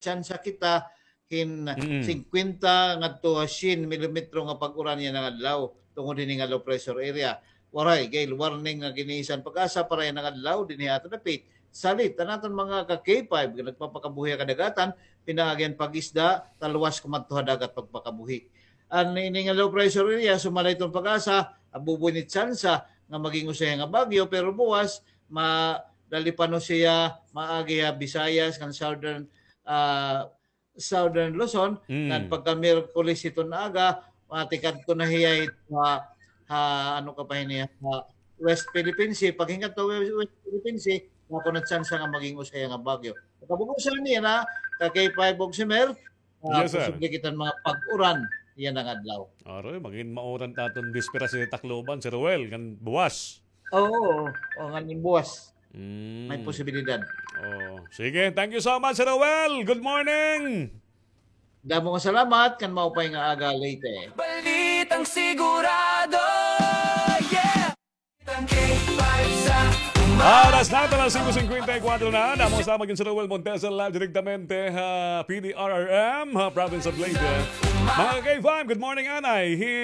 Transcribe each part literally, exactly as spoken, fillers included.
tsansa kita hin Mm. singkwenta ngadto ha syen milimetro nga pag-uran yana nga adlaw tungod hini nga low pressure area. Waray gay warning nga ginisan PAGASA para yana nga adlaw dinhi ha aton dapit. Salit an aton mga ka K five nga nagpapakabuhi ha kadagatan, pinaagi an pag-isda, talwas kumadto ha dagat pagpakabuhi. An ini nga low pressure area, sumala hiton PAGASA, abuboy ni tsansa nga maging usa hiya nga bagyo, pero buwas, ma-, dali pa no siya maagi ha Visayas, kan southern, ah, southern Luzon, Mm. kan pagka Miyerkules hiton aga, matikadto na hiya ha, ha, ano ka pa hini, ha West Philippine Sea. Paghingat to West, West Philippine Sea, ako na tsansa nga maging usa hiya nga bagyo. Kabug-osan niya na, ka K five og Semer, ah, Yes, sir. posible kita hin mga pag-uran yana nga adlaw. Aroy, magin mauran ta aton bispera si Tacloban, Sir Roel, ngan buwas. Oo, o, ngan buwas. Mm. May posibilidad. Oh, sige, thank you so much, Sir Roel. Good morning. Damo nga salamat, kan maupay nga aga, Leyte. Balitang sigurado, yeah! Balitang K five sa umaga. Oras naton alas singko singkwenta y kuwatro na. Damo nga salamat kan Sir Roel Montesa, live direktamente ha P D R R M, ha province of Leyte. Mga K five, good morning, anay. Hi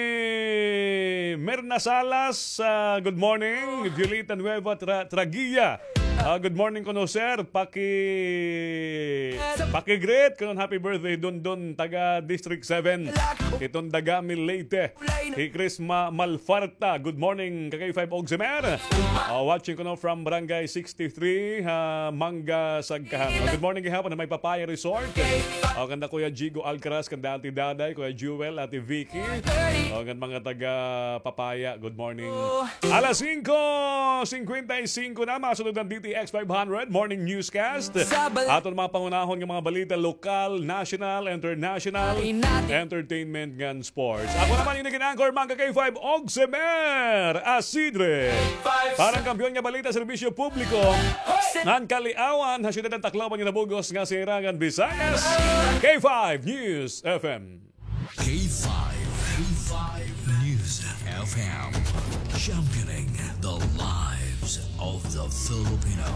Mirna Salas, ah, good morning. Violeta Nueva Tra-, Traguia. Ah, good morning kuno, sir. Paki-, paki-greet kuno, happy birthday, Dondon, taga District seven. Hiton Dagami, Leyte. Hi Chris Ma-, Malfarta. Good morning, ka K five og Semer. Ah, watching kuno from Barangay sixty-three, ha Manga, Sagkahan. Ah, good morning gihapon ha may Papaya Resort. Ah, kanda Kuya Jigo Alcaraz, kanda Ate Daday, Kuya Jewel, Ate Vicky. Ah, ngan mga taga Papaya, good morning. Alas singko singkwenta y singko na, masunod an D T X five hundred Morning Newscast. Aton mga pangunahon nga mga balita, lokal, national, international, entertainment, ngan sports. Ako naman ini nga anchor, mga ka K five, og Semer Asidre. Para han kampiyon nga balita, serbisyo publiko, ngan kaliawan ha syudad han Tacloban ngan ha bug-os nga singirangan Visayas, K five News F M. K five, K five News F M, championing the lives of the Filipino.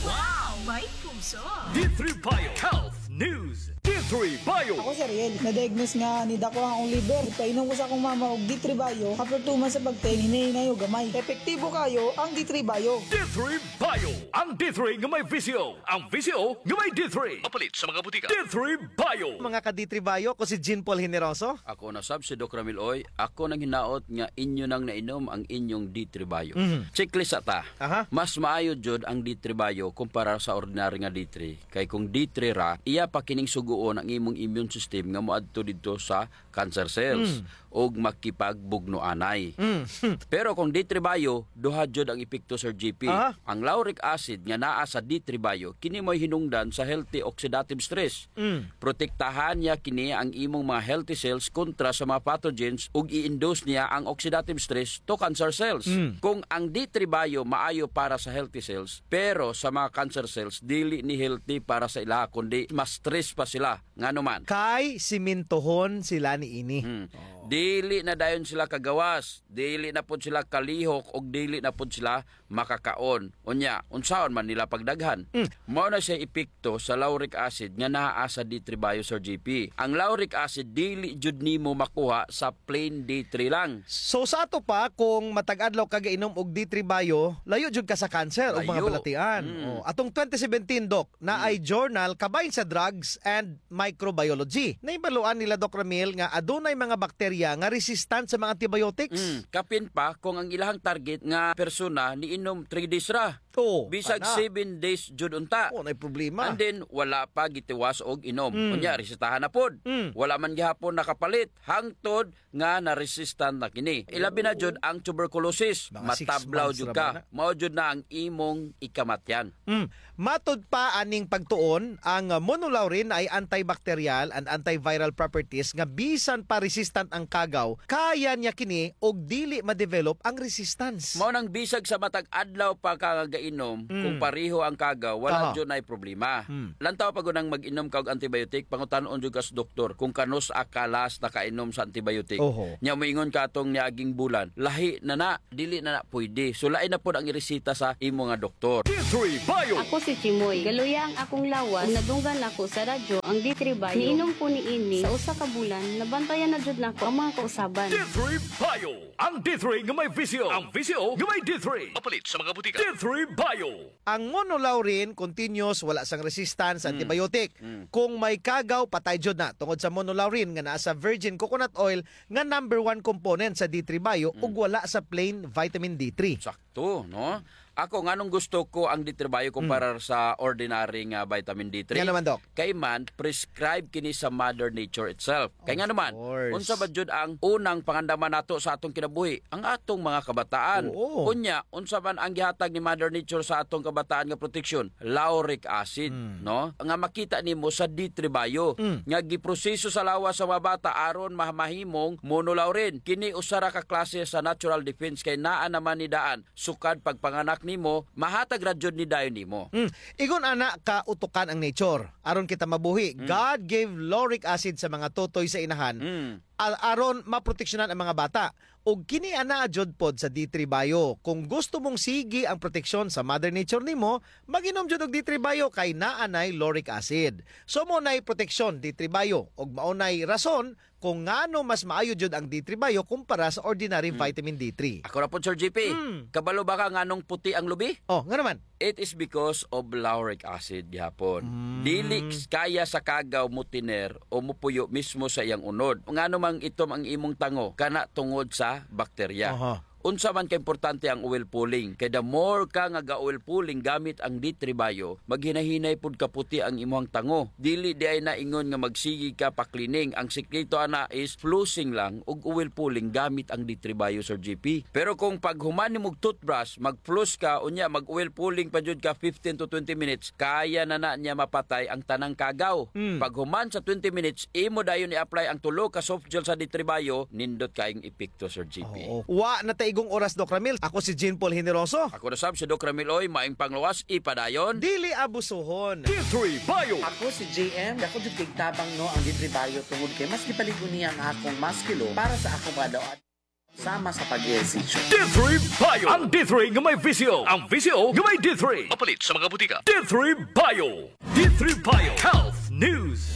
Wow! May puso! D three Bio Health News. D three Bio. Ako si Ariel. Na-diagnose nga nidako an akon liver. Ipainom ko sa akon mama og D three Bio. After two months sa pag-take, hinay-hinay og gamay. Epektibo kaayo ang D three Bio. D three Bio. Ang D three nga may V C O. Ang V C O nga may D three. Mapalit sa mga butika. D three Bio. Mga ka-D three Bio, ako si Jean Paul Generoso. Ako na sab si Doc Ramil Oy. Ako nanghinaot nga inyo nang nainom ang inyong D three Bio. Mhm. Checklist ta. Aha. Mas maayo jud ang D three Bio kumpara sa ordinary nga D three. Kay kung D three ra, iya pa kining sugoon ang imong immune system nga moadto didto sa cancer cells Mm. ug makipagbugno anay. Mm. Pero kung D three Bio, duha jud ang epekto, Sir G P. Aha. Ang lauric acid nga naa sa D three Bio, kini mo'y hinungdan sa healthy oxidative stress. Mm. Protektahan niya kini ang imong mga healthy cells kontra sa mga pathogens ug i-induce niya ang oxidative stress to cancer cells. Mm. Kung ang D three Bio maayo para sa healthy cells, pero sa mga cancer cells, dili ni healthy para sa ila, kundi mas stress pa sila. Ngano man? Kay simintohon sila niini. Hmm. Oh. Dili na dayon sila kagawas, dili na pod sila kalihok, ug dili na pod sila makakaon. Unya, unsaon man nila pagdaghan? Mm. Mao na siya epekto sa lauric acid nga naa sa D three Bio, Sir G P. Ang lauric acid dili jud nimo makuha sa plain D three lang. So, sa ato pa, kung matag adlaw ka gainom og D three Bio, layo jud ka sa cancer o mga Layo. balatian. Mm. Oh, atong twenty seventeen, Doc, naay Mm. journal kabahin sa Drugs and Microbiology. Nahibaluan nila, Doc Ramil, nga adunay mga bakterya nga resistant sa mga antibiotics. Mm, kapin pa kung ang ilahang target nga persona niinom three days ra. Oo, Bisag ana. seven days jud unta. Oo, nay problema. And then, wala pa gitiwas og inom. Mm. Unya, resetahan na pod. Mm. Wala man gihapon nakapalit. Hangtod nga na-resistant na kini. Ilabi na jud ang tuberculosis. Mga six Matablaw months jud ra ka. ba na? Mao jud na ang imong ikamatyan. Mm. Matud pa aning pagtuon, ang, ah, monolaurin ay antibacterial and antiviral properties nga bisan pa resistant ang kagaw, kaya niya kini og dili ma-develop ang resistance. Mao nang bisag sa matag adlaw pa ka nga inom, kung pareho ang kagaw, wala jud nay problema. Lantaw pa gud ang mag-inom ka og antibiotic, pangutan-on jud ka sa doktor kung kanus-a ka last nakainom sa antibiotic. Oho. Nya moingon ka atong niaging bulan, lahi na na, dili na na pwede. So, lain na pod ang iresita sa imo nga doktor. D three Bio. Ako si Chimoy. Galuya ang akong lawas. Ug nadunggan ako sa radyo ang D three Bio. Niinom ko niini sa usa ka bulan, nabantayan na jud nako ang mga kausaban. D three Bio. Ang D three nga may visyo. Ang visyo nga may D three. Mapalit sa mga butika. D three Bio. Ang monolaurin, continuous, wala sang resistance sa antibiotic. Kung may kagaw, patay jud na. Tungod sa monolaurin nga naa sa virgin coconut oil nga number one component sa D three Bio ug wala sa plain vitamin D three. Sakto, no? Ako, nganong gusto ko ang D three Bio kumpara sa ordinary nga vitamin D three? Ngano man, Doc? Kay man, prescribe kini sa Mother Nature itself. Kay ngano man, unsa ba jud ang unang pangandaman nato sa atong kinabuhi? Ang atong mga kabataan. Oo. Unya, unsa man ang gihatag ni Mother Nature sa atong kabataan nga proteksyon? Lauric acid, no? Nga makita nimo sa D three Bio, nga giproseso sa lawas sa mga bata aron ma-, mahimong monolaurin. Kini usa ra ka klase sa natural defense kay naa naman ni daan sukad pagpanganak nimo, mahatag ra jud ni dayon nimo. Mm. Ingon ana ka utukan ang nature. Aron kita mabuhi, God gave lauric acid sa mga totoy sa inahan, a-, aron maproteksyonan ang mga bata. Ug kini ana jud pod sa D three Bio. Kung gusto mong sige ang proteksyon sa Mother Nature nimo, mag-inom jud og D three Bio kay naa nay lauric acid. So, mao nay proteksyon, D three Bio, ug mao nay rason kung ngano mas maayo jud ang D three Bio kumpara sa ordinary vitamin D three. Ako ra pod, Sir G P. Mm. Kabalo ba ka nganong puti ang lubi? Oh, ngano man? It is because of lauric acid gihapon. Mm. Dili s-, kaya sa kagaw motiner o mopuyo mismo sa iyang unod. Ngano mang itom ang imong tango? Kana tungod sa bakterya. Aha. Unsa man ka importante ang oil pulling? Kay the more ka nga ga-oil pulling gamit ang D three Bio, maghinahinay pud kaputi ang imuhang tango. Dili diay na ingon nga magsige ka pa-cleaning. Ang sikreto ana is flossing lang ug oil pulling gamit ang D three Bio, Sir G P. Pero kung paghuman nimog toothbrush, mag-floss ka, unya mag-oil pulling pa jud ka fifteen to twenty minutes, kaya na na niya mapatay ang tanang kagaw. Mm. Paghuman sa twenty minutes, imo dayon i-apply ang tulo ka soft gel sa D three Bio, nindot kaayong epekto, Sir G P. Oo. Wa na ta igong oras, Doc Ramil. Ako si Jean Paul Generoso. Ako na sab si Doc Ramil Oy, maayong panglawas, ipadayon. Dili abusuhon. D three Bio. Ako si J M. Dako jud kay tabang, no, ang D three Bio tungod kay mas gipalig-on niya ang akong muscle para sa akong mga daw-at sama sa pag-ehersisyo. D three Bio. Ang D three nga may visyo. Ang visyo nga may D three. Mapalit sa mga butika. D three Bio. D three Bio Health News.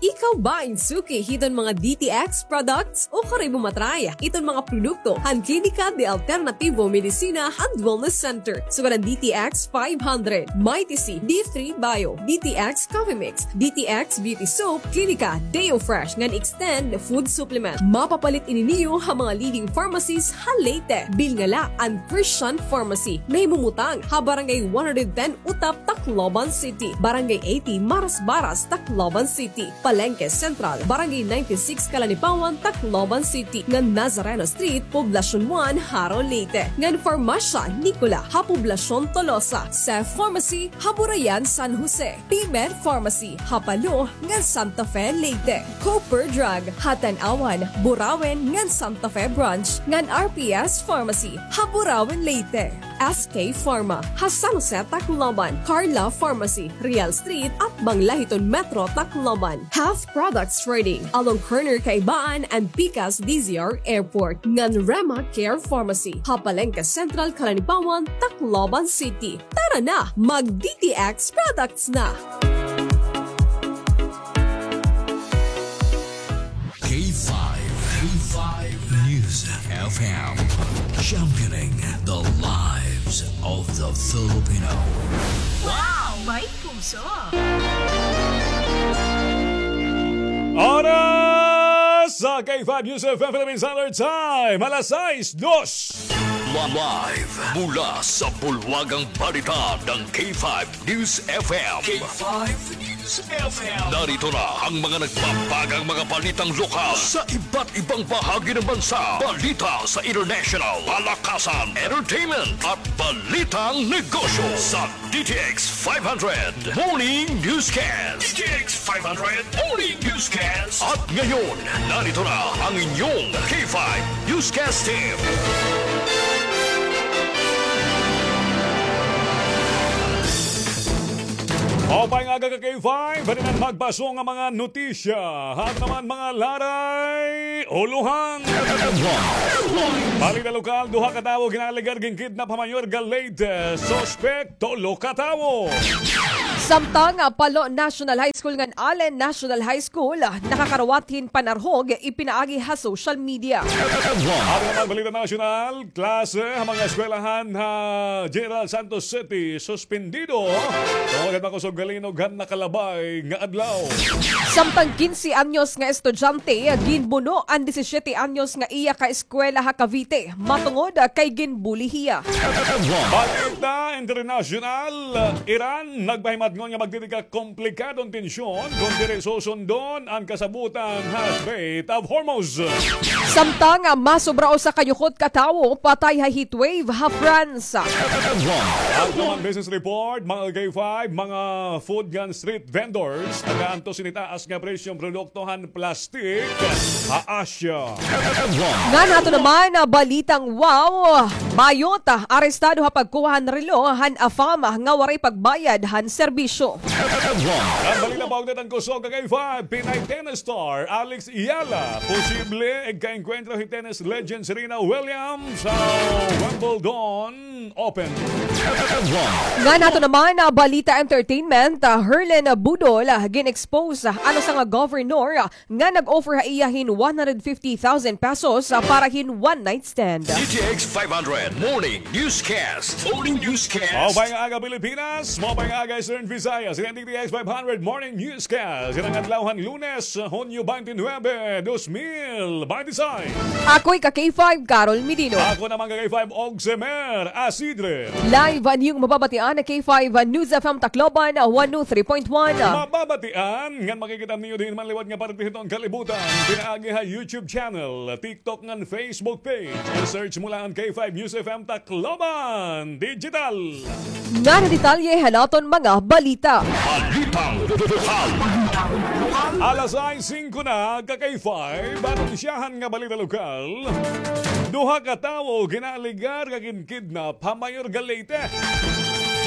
Ikaw ba in suki hiton mga D T X products? Ukari mo ma-try iton mga produkto han Klinika de Alternativo Medicina and Wellness Center. Sugad an D T X five hundred, Mighty C, D three Bio, D T X Coffee Mix, D T X Beauty Soap, Klinika Deo Fresh ngan Extend Food Supplement. Mapapalit ini niyo ha mga leading pharmacies ha Leyte. Bilnga la an Christian Pharmacy. Nahimumutang ha Barangay one hundred ten Utap, Tacloban City, Barangay eighty Marasbaras, Tacloban City, Palengke Central, Barangay ninety-six Calanipawan, Tacloban City, ngan Nazareno Street, Poblacion one, Jaro, Leyte, ngan Farmasya Nicola ha Poblacion Tolosa, Seth Pharmacy ha Burayan, San Jose, P-Med Pharmacy ha Palo ngan Santa Fe, Leyte, Cooper Drug ha Tanauan, Burauen ngan Santa Fe Branch, ngan R P S Pharmacy ha Burauen, Leyte. S K Pharma ha San Jose, Tacloban, Carla Pharmacy, Real Street, atbang la hiton Metro Tacloban. Health Products Trading, along corner Kaibaan and Pikas D Z R Airport, ngan Rema Care Pharmacy ha Palengke Central, Calanipawan, Tacloban City. Tara na, mag D T X products na! K five, K five News F M, championing the lives of the Filipino. Wow! May puso! Oras sa K five News F M Philippine Standard Time, alas sais, dos. Live mula sa bulwagang balita ng K five News F M. K five News F M. Narito na ang mga nagpapagang mga balitang lokal sa iba't ibang bahagi ng bansa. Balita sa international, palakasan, entertainment, at balitang negosyo sa D T X five hundred Morning Newscast. D T X five hundred Morning Newscast. At ngayon, narito na ang inyong K five Newscast Team. Maupay nga aga ka K five, halinan magpaso nga mga notisya. Aton naman mga laray, ulohan. Balita lokal, duha ka tawo ginaalegar ginkidnap ha Mayorga, Leyte. Suspek, tulo ka tawo. Samtang, ah, Palo National High School ngan Allen National High School, ah, nakakarawat hin panarhog, ipinaagi ha social media. Aton naman balita nasyonal, klase ha mga eskwelahan ha General Santos City, suspendido. Tungod han makusog nga linog han nakalabay nga adlaw. Samtang quince anyos nga estudyante, ginbuno an disisiete anyos nga iya kaeskwela ha Cavite, matungod kay ginbuli hiya. Balita internasyonal, Iran nagpahimatngon nga magtitikang komplikadong tensyon kon diri susundon an kasabotan ha Strait of Hormuz. Samtang, ah, masobra usa ka yukot ka tawo patay ha heatwave ha France. Aton naman business report, mga K five, mga food ngan street vendors, nagaantos hin itaas nga presyo han produkto han plastik ha Asia. Ngan aton naman, ah, balitang wow, bayot, ah, arestado ha pagkuha han relo han afam nga waray pagbayad han serbisyo. Ngan balita, paugnat han kusog ka K five, Pinay tennis star Alex Eala posible igkaengkwentro hi tennis legend Serena Williams sa Wimbledon Open. Ngan aton naman, ah, balita entertainment, ah, Herlin Budol, ah, gin-expose, ah, an usa nga governor, ah, nga nag-offer ha iya hin one hundred fifty thousand pesos, ah, para hin one night stand. D T X five hundred Morning Newscast. Morning Newscast. Maupay nga aga, Pilipinas. Maupay nga aga, Eastern Visayas. Ini an D T X five hundred Morning Newscast. Ini an adlaw han Lunes, Hunyo twenty-nine, dos mil binte y seis. Ako hi ka K five, Carol Medino. Ako naman ka K five, Ogsemer Asidre. Live an iyo mababatian ha K five News F M Tacloban, one oh three point one. Mababatian ngan makikita niyo dinhi man liwat nga parte hiton kalibutan pinaagi ha YouTube channel, TikTok ngan Facebook page. I-search mo la an K five News F M Tacloban Digital. Ngan detalye han aton mga balita. Balitang lokal. Alas sais singko na, ka K five, anunsyahan nga balita lokal. Duha ka tawo ginaalegar nga ginkidnap ha Mayorga, Leyte.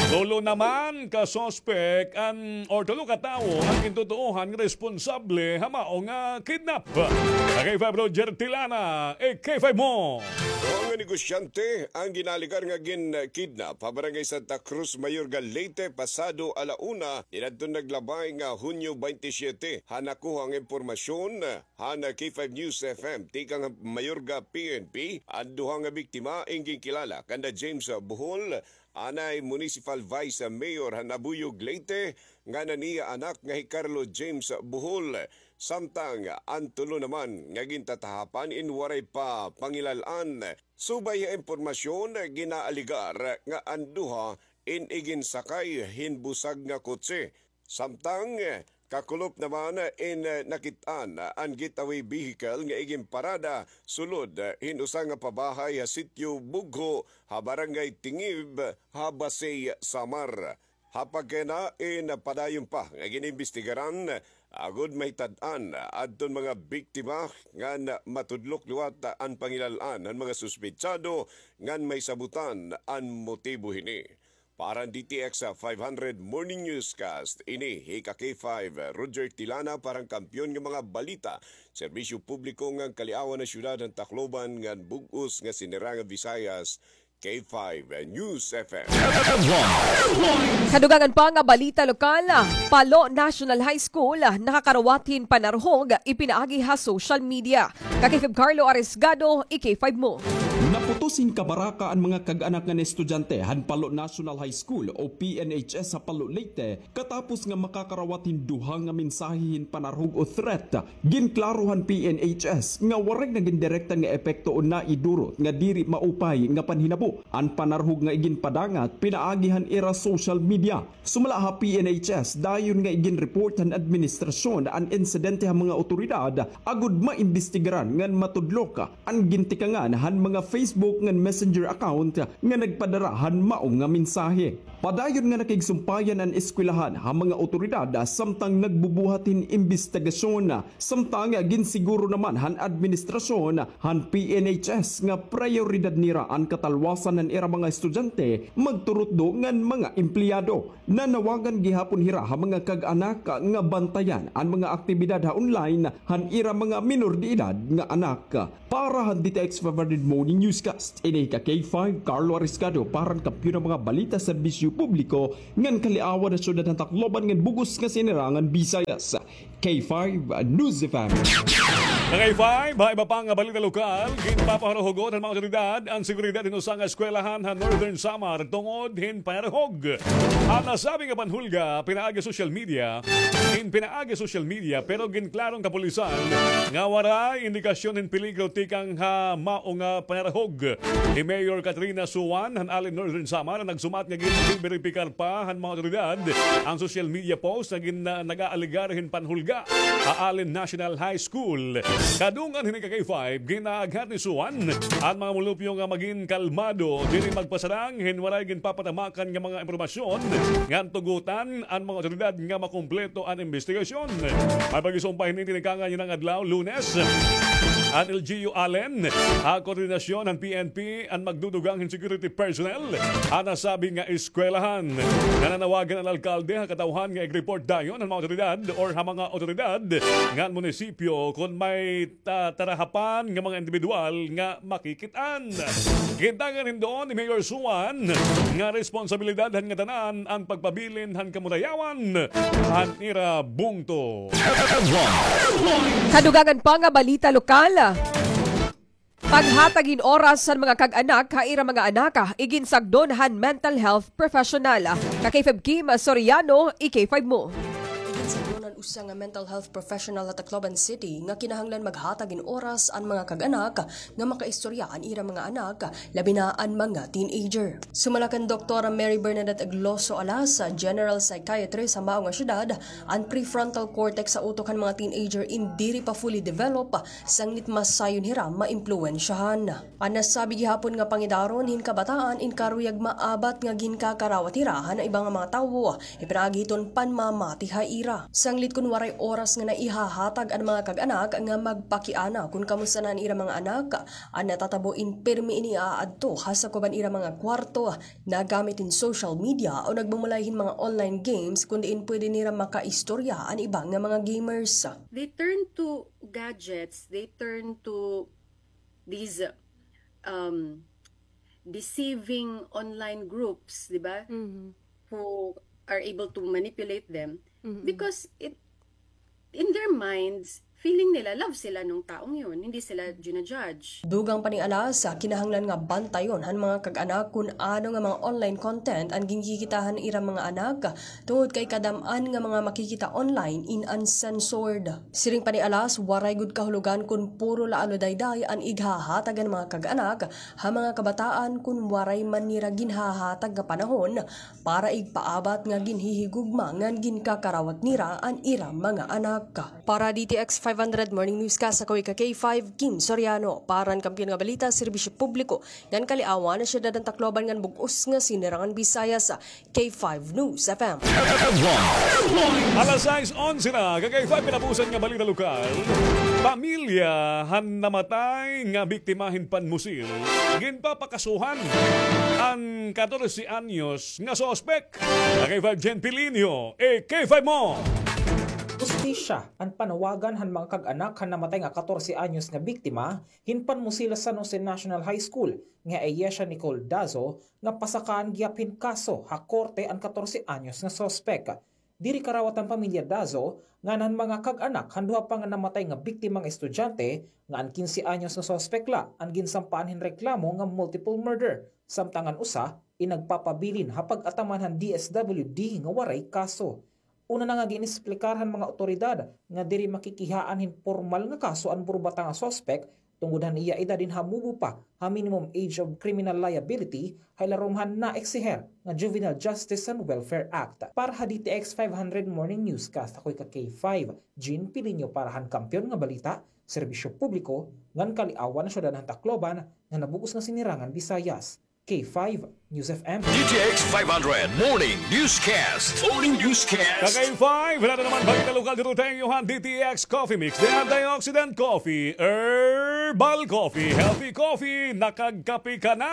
Tulo naman ka suspek an, or tulo ka tawo an gintutuohan nga responsable ha mao nga kidnap. Ka K five, Roger Tilana, e K five mo. Duha nga negosyante an ginaalegar nga ginkidnap ha Barangay Santa Cruz, Mayorga, Leyte, pasado ala una niadtong naglabay nga Hunyo twenty-seven. Ha nakuha nga impormasyon han K five News F M tikang Mayorga P N P, an duha nga biktima in ginkilala kanda James Bohol, anay Municipal Vice Mayor han Abuyog, Leyte, ngan an iya anak nga hi Carlo James Bohol. Samtang an tulo naman nga gintatahapan in waray pa pangilal-an. Subay ha impormasyon, ginaalegar nga an duha in iginsakay hin busag nga kotse. Samtang kakulop naman in nakit-an an getaway vehicle nga iginparada sulod hin usa nga pabahay ha Sitio Bugho ha Barangay Tingib ha Basey, Samar. Ha pagkayana in padayon pa nga gin-imbestigaran agod mahitan-an adton mga biktima ngan matudlok liwat an pangilal-an han mga suspetsado ngan mahisabotan an motibo hini. Para han D T X five hundred Morning Newscast, ini hi ka K five, Roger Tilana, para han kampiyon nga mga balita, serbisyo publiko ngan kaliawan han syudad han Tacloban ngan bug-os nga Sinirangan Visayas, K five News F M. Kadugangan pa nga balita lokal, Palo National High School, nakakarawat hin panarhog, ipinaagi ha social media. Ka K five Carlo Arisgado, i K five mo. Naputos hin kabaraka an mga kag-anak ngan estudyante han Palo National High School o P N H S ha Palo, Leyte, katapos nga makakarawat hin duha nga mensahe hin panarhog o threat. Ginklaro han P N H S nga waray nagin direkta nga epekto o naidurot nga diri maupay nga panhinabo an panarhog nga iginpadangat pinaagi han ira social media. Sumala ha P N H S, dayon nga iginreport han administrasyon an insidente ha mga awtoridad agod maimbestigaran ngan matudlok an gintikangan han mga Facebook ngan Messenger account nga nagpadara han mao nga mensahe. Padayon nga nakigsumpayan an eskwelahan ha mga awtoridad samtang nagbubuhat hin imbestigasyon. Samtang ginsiguro naman han administrasyon han P N H S nga prayoridad nira an katalwasan han ira mga estudyante, magturutdo ngan mga empleyado. Nanawagan gihapon hira ha mga kag-anak nga bantayan an mga aktibidad ha online han ira mga minor de edad nga anak. Para han D T X five hundred Morning Newscast, ini ka K five, Carlo Ariscado, para han Kampiyon han mga Balita, Serbisyo Publiko, ngan Kaliawan han Syudad han Tacloban ngan bug-os nga Sinirangan Visayas. K five News F M. Ka K five, ha iba pa nga balita lokal, ginpapaharuhugot han mga awtoridad an seguridad hin usa nga eskwelahan ha Northern Samar tungod hin panarahog. An nasabi nga panhulga pinaagi social media, hin pinaagi social media, pero ginklaro han kapulisan nga waray indikasyon hin peligro tikang ha mao nga panarahog. Hi Mayor Katrina Suan han Allen, Northern Samar, nagsumat nga gin-, ginberipikar pa han mga awtoridad an social media post nga gin-, nag-aalegar hin panhulga ha Allen National High School. Kadungan hini, ka K five, gin-aaghat ni Suan an mga mulupyo nga magin kalmado, diri magpasarang hin waray ginpapatamakan nga mga impormasyon ngan tugutan an mga awtoridad nga makumpleto an imbestigasyon. May pagisumpay hini tinikangan yana nga adlaw, Lunes, an L G U Allen, ha koordinasyon han P N P, an magdudugang hin security personnel ha nasabi nga eskwelahan. Nananawagan an alkalde ha katawhan nga ig-report dayon han mga awtoridad or ha mga awtoridad ngan munisipyo kon may ta-, tarahapan nga mga indibidwal nga makikit-an. Gintangan hin duon ni Mayor Suan nga responsabilidad han ngatanan an pagpabilin han kamurayawan han ira bungto. Kadugangan pa nga balita lokal. Paghatag hin oras han mga kag-anak ha ira mga anak, iginsagdon han mental health professional. Ka K five Kim Soriano, i-K five mo. Iginsagdon han usa nga mental health professional ha Tacloban City nga kinahanglan maghatag hin oras an mga kag-anak nga makaistorya an ira mga anak, labi na an mga teenager. Sumala kan Doktora Mary Bernadette Agloso Alas, General Psychiatrist ha mao nga syudad, an prefrontal cortex sa utok han mga teenager in diri pa fully develop, sanglit mas sayon hira maimpluwensyahan. An nasabi gihapon nga pangidaron hin kabataan in karuyag maabat nga ginkakarawat hira han iba nga mga tawo, ipinaagi hiton panmamati ha ira. Sanglit kon waray oras nga naihahatag an mga kag-anak nga magpakiana kon kamusta na an ira mga anak, an natatabo in pirmi ini aadto ha sakob han ira mga kwarto, nagamit hin social media o nagmumulay hin mga online games kon diin pwede nira makaistorya an iba nga mga gamers. They turn to gadgets, they turn to these, um, deceiving online groups, di ba? Mhm. Who are able to manipulate them. Mhm. Because it, in their minds, feeling nila, love sila nung taong yun. Hindi sila ginajudge. Dugang pa ni Alas, kinahanglan nga bantayon han mga kag-anak kun ano nga mga online content an ginkikita han ira mga anak, tungod kay kadam-an nga mga makikita online in uncensored. Siring pa ni Alas, waray gud kahulogan kun puro la aludayday an ighahatag han mga kag-anak ha mga kabataan kun waray man nira ginhahatag nga panahon para igpaabat nga ginhihigugma ngan ginkakarawat nira an ira mga anak. Para D T X five hundred Morning Newscast, ako hi ka K five, Kim Soriano. Para han Kampiyon nga Balita, Serbisyo Publiko, ngan Kaliawan, Syudad han Tacloban ngan bug-os nga Sinirangan Visayas, K five News F M. Alas sais onse na, ka K five, pinapusan nga balita lokal. Pamilya han namatay nga biktima hin panmusil, ginpapakasuhan an katorse anyos nga suspek. Ka K five, Jen Pilinio, i-K five mo. Hustisya an panawagan han mga kag-anak han namatay nga katorse anyos nga biktima hin panmusil ha San Jose National High School nga hi Ayesha Nicole Dazo nga pasakaan gihap hin kaso ha korte an katorse anyos nga suspek. Diri karawat an pamilya Dazo ngan han mga kag-anak han duha pa nga namatay nga biktima nga estudyante nga an kinse anyos nga suspek la an ginsampaan hin reklamo nga multiple murder, samtang an usa in nagpapabilin ha pag-ataman han D S W D nga waray kaso. Una na nga gin-esplikar han mga awtoridad nga diri makikihaan hin pormal nga kaso an burbata nga suspek Tungod han iya edad hin hamubo pa ha minimum age of criminal liability, ha ilarom han naeksiher nga Juvenile Justice and Welfare Act. Para ha D T X five hundred Morning Newscast, ako hi ka K five, Jean Pilinio para han Kampiyon nga Balita, Serbisyo Publiko, ngan Kaliawan, Syudad han Tacloban, nga nabug-os nga Sinirangan Visayas. K five News F M. D T X five hundred Morning Newscast. Morning Newscast. Ka K five, wala na naman balita lokal dito tayo han D T X Coffee Mix. The Antioxidant Coffee, Herbal Coffee, Healthy Coffee, nakagkape ka na.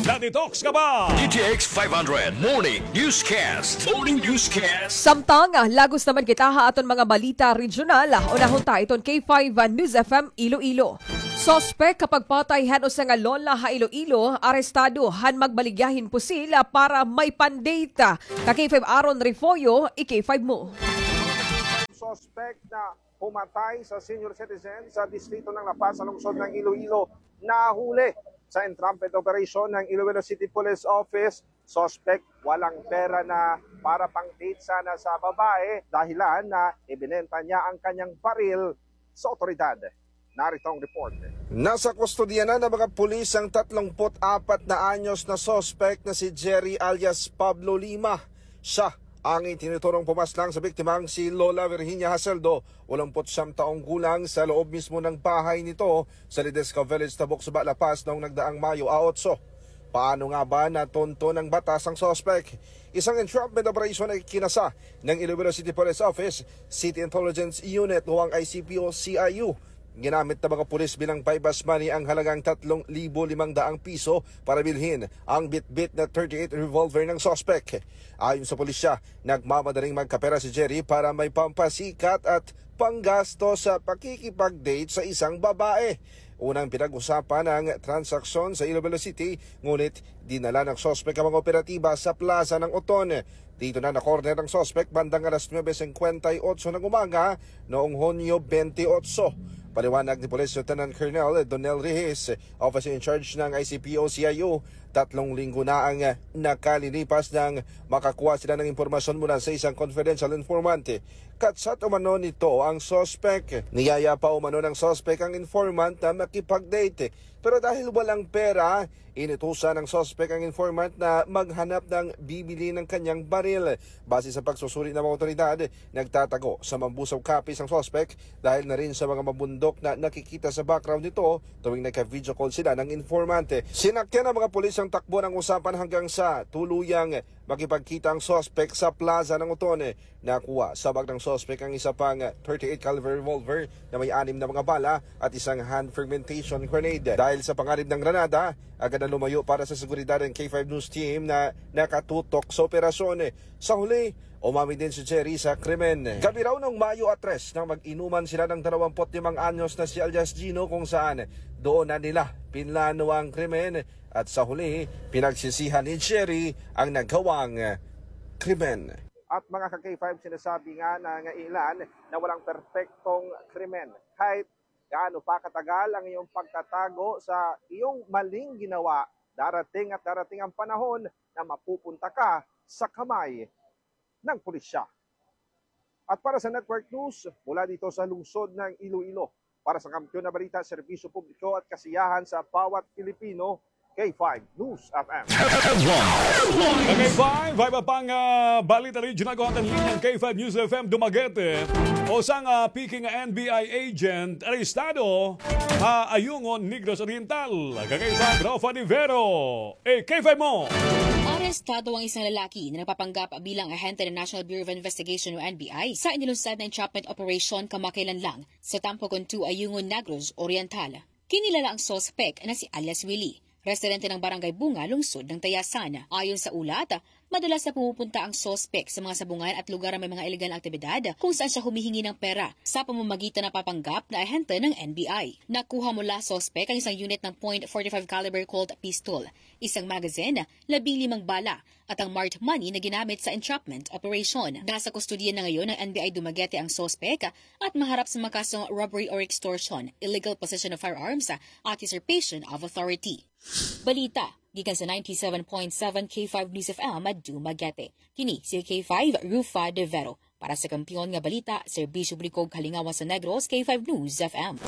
Na-detox ka ba? D T X five hundred Morning Newscast. Morning Newscast. Samtang, ah, lagos naman kita ha aton mga balita regional, ah, unahon ta iton K five, ah, News F M Iloilo. Suspek ha pagpatay han usa nga lola ha Iloilo, arestado han magbaligya hin pusil para may pandate. Ka K five Aaron Refollo, i-K five mo. Suspek na pumatay sa senior citizen sa distrito ng La Paz sa lungsod ng Iloilo, nahuli sa entrapment operation ng Iloilo City Police Office. Suspek, walang pera na para pang date sana sa babae, dahilan na ibinenta niya ang kanyang baril sa otoridad. Narito ang report. Nasa kustodiya na ng mga pulis ang tatlongput-apat na anyos na suspek na si Jerry alias Pablo Lima. Siya ang itinuturong pumaslang sa biktimang si Lola Virginia Haseldo, walumput siyam taong gulang, sa loob mismo ng bahay nito sa Ledesma Village, Tabuk, Saba, La Paz noong nagdaang Mayo a otso. Paano nga ba natunto ng batas ang suspek? Isang entrapment operation ay kinasa ng Iloilo City Police Office, City Intelligence Unit o ang I C P O C I U. Ginamit ng mga pulis bilang buy-bust money ang halagang tatlong libo limang daang piso para bilhin ang bitbit na thirty-eight revolver ng suspek. Ayon sa pulisya, nagmamadaling magkapera si Jerry para may pampasikat at panggasto sa pakikipag-date sa isang babae. Unang pinag-usapan ang transaksyon sa Iloilo City, ngunit dinala ng suspek ang mga operatiba sa plaza ng Oton. Dito na na-corner ang suspek bandang alas nuwebe singkwenta y otso ng umaga noong Hunyo bente otso. Paliwanag ni Police Lieutenant Colonel Donel Rihis, Officer in Charge ng I C P O C I U, tatlong linggo na ang nakalilipas nang makakuha sila ng impormasyon mula sa isang confidential informant. Ka-chat umano nito ang suspek. Niyaya pa umano ng suspek ang informant na makipag-date. Pero dahil walang pera, inutusan ng suspek ang informant na maghanap ng bibili ng kanyang baril. Base sa pagsusuri ng mga otoridad, nagtatago sa Mambusao Capiz ang suspek dahil na rin sa mga mabundok na nakikita sa background nito tuwing nagka-video call sila ng informante. Sinakyan ng mga pulis ang takbo ng usapan hanggang sa tuluyang makipagkita ang suspek sa plaza ng Oton. Nakuha sa bag ng suspek ang isa pang thirty-eight caliber revolver na may anim na mga bala at isang hand fragmentation grenade. Dahil sa panganib ng granada, agad na lumayo para sa seguridad ang K five News Team na nakatutok sa operasyon. Sa huli, umamin din si Jerry sa krimen. Gabi raw noong Mayo a tres nang mag-inuman sila ng dalawampu't limang anyos na si alias Gino, kung saan doon na nila pinlano ang krimen at sa huli, pinagsisihan ni Jerry ang nagawang krimen. At mga ka-K five, sinasabi nga ng ilan na walang perpektong krimen. Kahit gaano pa katagal ang iyong pagtatago sa iyong maling ginawa, darating at darating ang panahon na mapupunta ka sa kamay ng pulisya. At para sa Network News, mula dito sa lungsod ng Iloilo, para sa Kampiyon na Balita, Serbisyo Publiko at Kasiyahan sa Bawat Pilipino, K five News F M. K five, iba pang, ah, balita regional ko hangtod linyang K five News F M Dumaguete. Usa nga, ah, peke nga N B I agent arestado ha Ayungon, Negros Oriental. Ka K five, Rafa Nivero. Eh, K five mo. Arestado ang isang lalaki na nagpapanggap bilang ahente ng National Bureau of Investigation o N B I sa inilunsad na entrapment operation kamakailan lang sa Tampogon two, Ayungon, Negros Oriental. Kinilala ang suspek na si alias Willie, residente ng Barangay Bunga, lungsod ng Tayasan. Ayon sa ulat, madalas na pumupunta ang suspek sa mga sabungan at lugar na may mga ilegal na aktibidad kung saan siya humihingi ng pera sa pamamagitan ng papanggap na ahente ng N B I. Nakuha mula suspek ang isang unit ng point forty-five caliber Colt pistol, isang magazine, labing limang bala, at ang marked money na ginamit sa entrapment operation. Nasa kustodiya na ngayon ng N B I Dumaguete ang suspek at maharap sa mga kasong robbery or extortion, illegal possession of firearms, at usurpation of authority. Balita gikan sa ninety-seven point seven K five News F M Dumaguete. Kini si K five Rufa De Vero. Para sa Kampiyon nga Balita, Serbisyo Publiko ug Kalingawan sa Negros, K five News F M.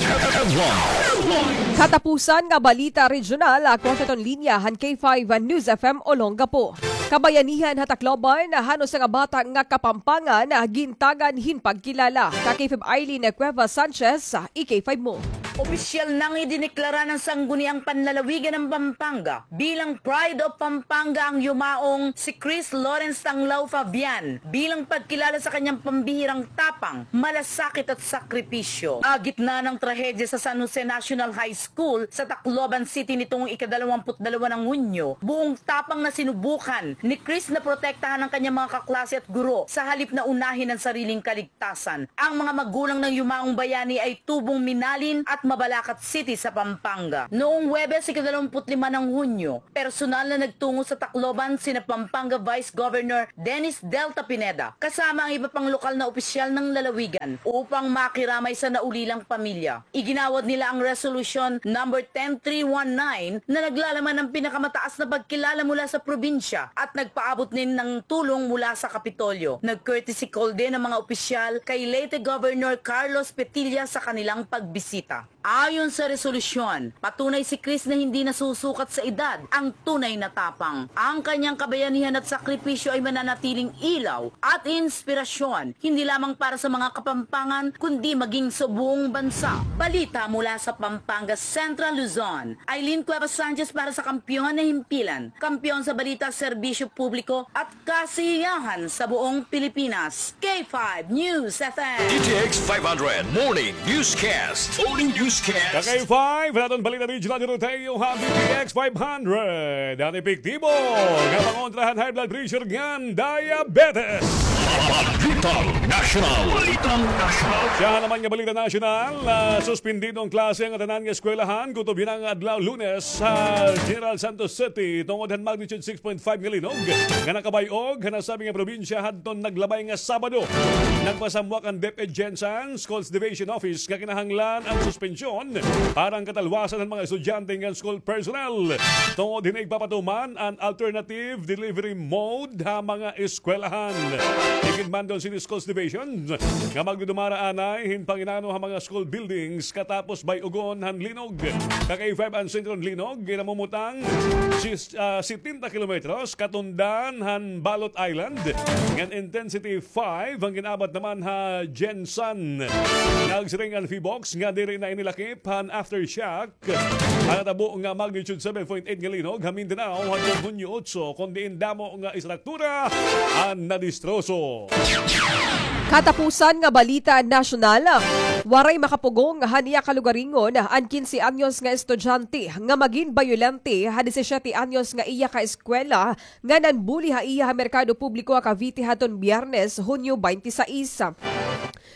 Katapusan nga balita regional, ako an linya han K five News F M Olongapo. Kabayanihan ha Tacloban, han usa nga bata nga Kapampangan, gintagan hin pagkilala. Ka K five Eileen Cuevas Sanchez, i-K five mo. Opisyal nang idineklara ng Sangguniang Panlalawigan ng Pampanga bilang Pride of Pampanga ang yumaong si Chris Lawrence Tanglao Fabian bilang pagkilala sa kanyang pambihirang tapang, malasakit at sakripisyo. Sa gitna ng trahedya sa San Jose National High School sa Tacloban City nitong ikadalawamput dalawa ng Hunyo, buong tapang na sinubukan ni Chris na protektahan ang kanyang mga kaklase at guro sa halip na unahin ang sariling kaligtasan. Ang mga magulang ng yumaong bayani ay tubong minalin at Mabalacat City sa Pampanga. Noong Huwebes, ikadalawamput lima ng Hunyo, personal na nagtungo sa Tacloban sina Pampanga Vice Governor Dennis Delta Pineda, kasama ang iba pang lokal na opisyal ng lalawigan upang makiramay sa naulilang pamilya. Iginawad nila ang Resolution Number ten three one nine na naglalaman ng pinakamataas na pagkilala mula sa probinsya at nagpaabot din ng tulong mula sa Kapitolyo. Nag-courtesy call din ang mga opisyal kay late Governor Carlos Petilla sa kanilang pagbisita. Ayon sa resolusyon, patunay si Chris na hindi nasusukat sa edad ang tunay na tapang. Ang kanyang kabayanihan at sakripisyo ay mananatiling ilaw at inspirasyon, hindi lamang para sa mga Kapampangan, kundi maging sa buong bansa. Balita mula sa Pampanga, Central Luzon. Eileen Cuevas Sanchez para sa Kampiyon na Himpilan. Kampiyon sa balita, serbisyo publiko at kasiyahan sa buong Pilipinas. K five News F M. D T X five hundred Morning Newscast. Morning Newscast. Ka K five, an aton balita regional diri ha iyo ha D T X five hundred. An epektibo nga pangontra han high blood pressure ngan diabetes. Balitang National. Balitang National. Siya naman nga balita nasyonal, ah, suspindido an klase han tanan nga eskwelahan kutob yana nga adlaw Lunes sa General Santos City tungod han magnitude six point five nga linog nga nakabay-og han nasabi nga probinsya hadton naglabay nga Sabado. Nagpasamwak an DepEd Gensan Schools Division Office nga kinahanglan an suspensyon para han katalwasan han mga estudyante ngan school personnel tungod hini igpapatuman an alternative delivery mode ha mga eskwelahan. Iginmando han City Schools Division nga magdudumara anay hin panginano ha mga school buildings katapos bay-ugon han linog. Ka K five, an sentrong linog ginamumutang sis-, ah, setenta kilometros katundan han Balot Island, ngan intensity five an gin-abat naman ha Gensan. Nagsiring an PHIVOLCS nga diri na ini lakip han aftershock han natabo nga magnitude seven point eight nga linog ha Mindanao hadtong Hunyo otso, kon diin damo nga istruktura an nadistroso. Katapusan nga balita nasyonal, waray makapugong han iya kalugaringon an kinse anyos nga estudyante nga magin bayolente ha disisiyete anyos nga iya kaeskwela nga nanbuli ha iya ha merkado publiko ha Cavite hadton Biyernes, Hunyo baynte sais.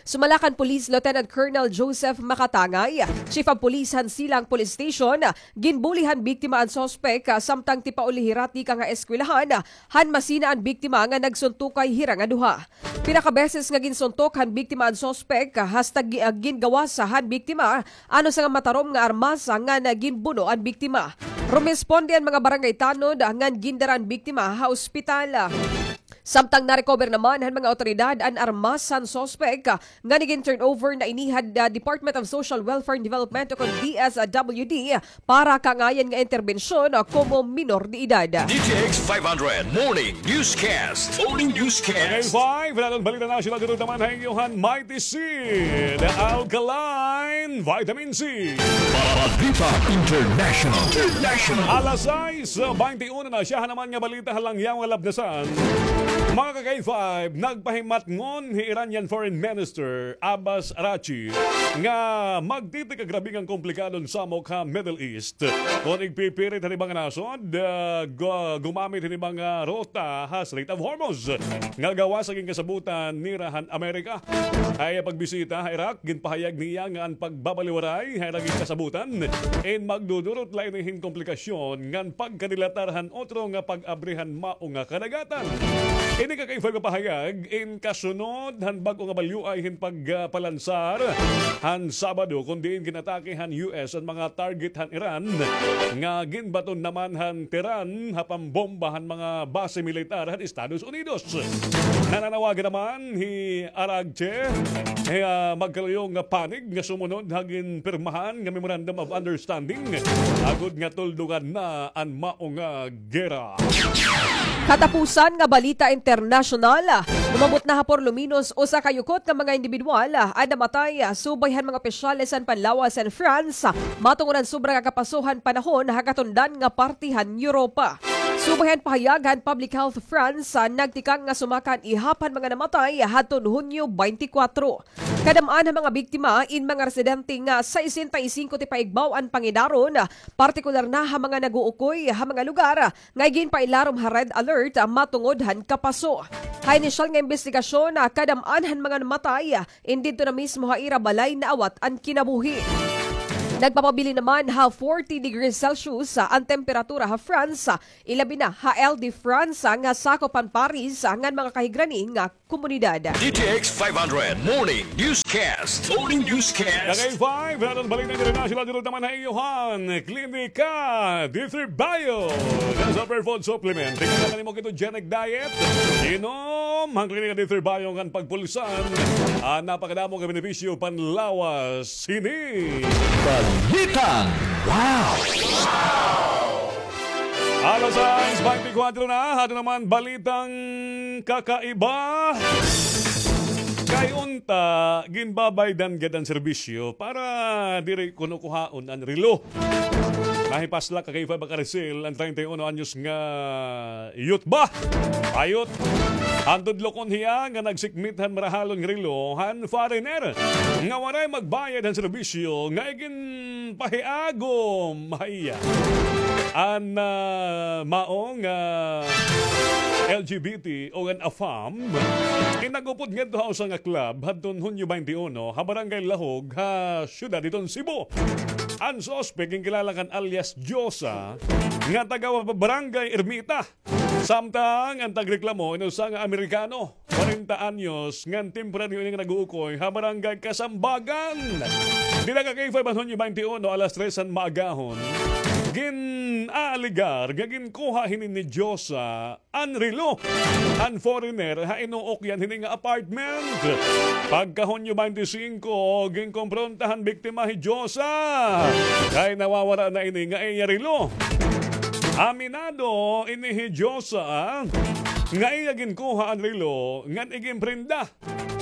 Sumala kan Police Lieutenant Colonel Joseph Makatangay, Chief of Police han Silang Police Station, ginbuli han biktima an suspek, ah, samtang tipauli hira tikang ha eskwelahan, ah, han masina an biktima nga nagsuntukay hira nga duha. Pira ka beses nga ginsuntok han biktima an suspek, ah, hasta gi-, ah, gingawas han biktima an usa nga matarom nga armas, ah, ngan ginbuno an biktima. Rumesponde an mga barangay tanod, ah, ngan gindara an biktima ha ospital. Samtang na-recover naman han mga awtoridad an armas han suspek, ah, ngan igin-turnover na ini ha, ah, Department of Social Welfare and Development o kon D S W D para kangayan nga interbensyon, ah, komo minor de edad. D T X five hundred Morning Newscast. Morning Newscast. K five, an aton balita nasyonal diri naman ha iyo han Mighty Seed Alkaline Vitamin C. Balita International. International. Alas sais baynte uno na, siya naman nga balita ha langyaw nga labnasan. Mga ka-K five, nagpahimatngon hi Iranian Foreign Minister Abbas Araghchi nga magtitigagrabe nga komplikado an samok ha Middle East kon igpipirit han iba nga nasod, ah, gu-, gumamit han iba nga ruta ha Strait of Hormuz nga gawas sa ginkasabutan nira han Amerika. Ha iya pagbisita ha Iraq, ginpahayag niya nga an pagbabaliwaray ha ira ginkasabutan in magdudurot la ini hin komplikasyon ngan pagkadilatar han otro nga pag-abri han mao nga kadagatan. Ini ka K five pahayag in kasunod han bag-o nga balyuay hin pagpalansar han Sabado, kon diin ginatake han U S an mga target han Iran nga ginbaton naman han Tehran ha pambomba han mga base militar han Estados Unidos. Nananawagan naman hi Araghchi, eh, ah, magkaluyong nga panig nga sumunod ha ginpirmahan nga Memorandum of Understanding, agod nga tuldugan na an mao nga gera. Katapusan nga balita internasyonal, umabot na ha por lo menos usa ka yukot nga mga indibidwal an namatay, subay han mga opisyales han panlawas han France, matungod han sobra nga kapaso han panahon ha katundan nga parte han Europa. Subay han pahayag han Public Health France, nagtikang nga sumaka an ihap han mga namatay hadton Hunyo twenty-four. Kadam-an ha mga biktima in mga residente nga sesenta y singko ti paigbaw an pangidaron, partikular na ha mga nag-uukoy ha mga lugar nga iginpailarom ha red alert matungod han kapaso. Ha inisyal nga imbestigasyon, kadam-an han mga namatay in didto na mismo ha ira balay naawat an kinabuhi. Nagpapabilin naman ha forty degrees Celsius an temperatura ha France, ilabi na ha Île-de-France nga sakop han Paris ngan mga kahigrani nga komunidad. D T X five hundred Morning Newscast. Morning Newscast. Kagay five, naton balik na international dito naman ha iyohan. Klinika D three Bio. Sa Superfood Supplement. Tingnan na nimo ketogenic diet. Inom han Klinika D three Bio ngan pagpulsan an napakadamo nga benepisyo panlawas hini. Balitang Wow! Alas sais twenty-four na, ato naman balitang kakaiba. Kay unta, ginbabaydan gad an serbisyo para diri kuno kuhaon an relo. Nahipaslak kay Fab Carisil an treinta y uno anyos nga youth ba? Ayot. Han tudlokon hiya nga nagsikmit han marahalon nga relo han foreigner nga waray magbayad han serbisyo nga igin pahiagom ha iya an, ah, mao nga L G B T o an AFAM, in nag-upod ngadto ha usa nga club hadton Hunyo twenty-one ha Barangay Lahog ha siyudad hiton Cebu. An suspek ginkilala kan alias Diosa nga taga Barangay Ermita. Samtang an tagreklamo in usa nga Amerikano, kwarenta anyos, ngan temporaryo ini nga nag-uukoy ha Barangay Kasambagan. Dida ka K five han Hunyo twenty-one, alas tres han maagahon, gin-aalegar nga ginkuha hini ni Diosa an relo han foreigner ha inuukyan hini nga apartment. Pagka Hunyo twenty-five, ginkompronta han biktima hi Diosa kay nawawara na ini nga iya relo. Aminado ini hi Diosa nga iya ginkuha an relo ngan iginprenda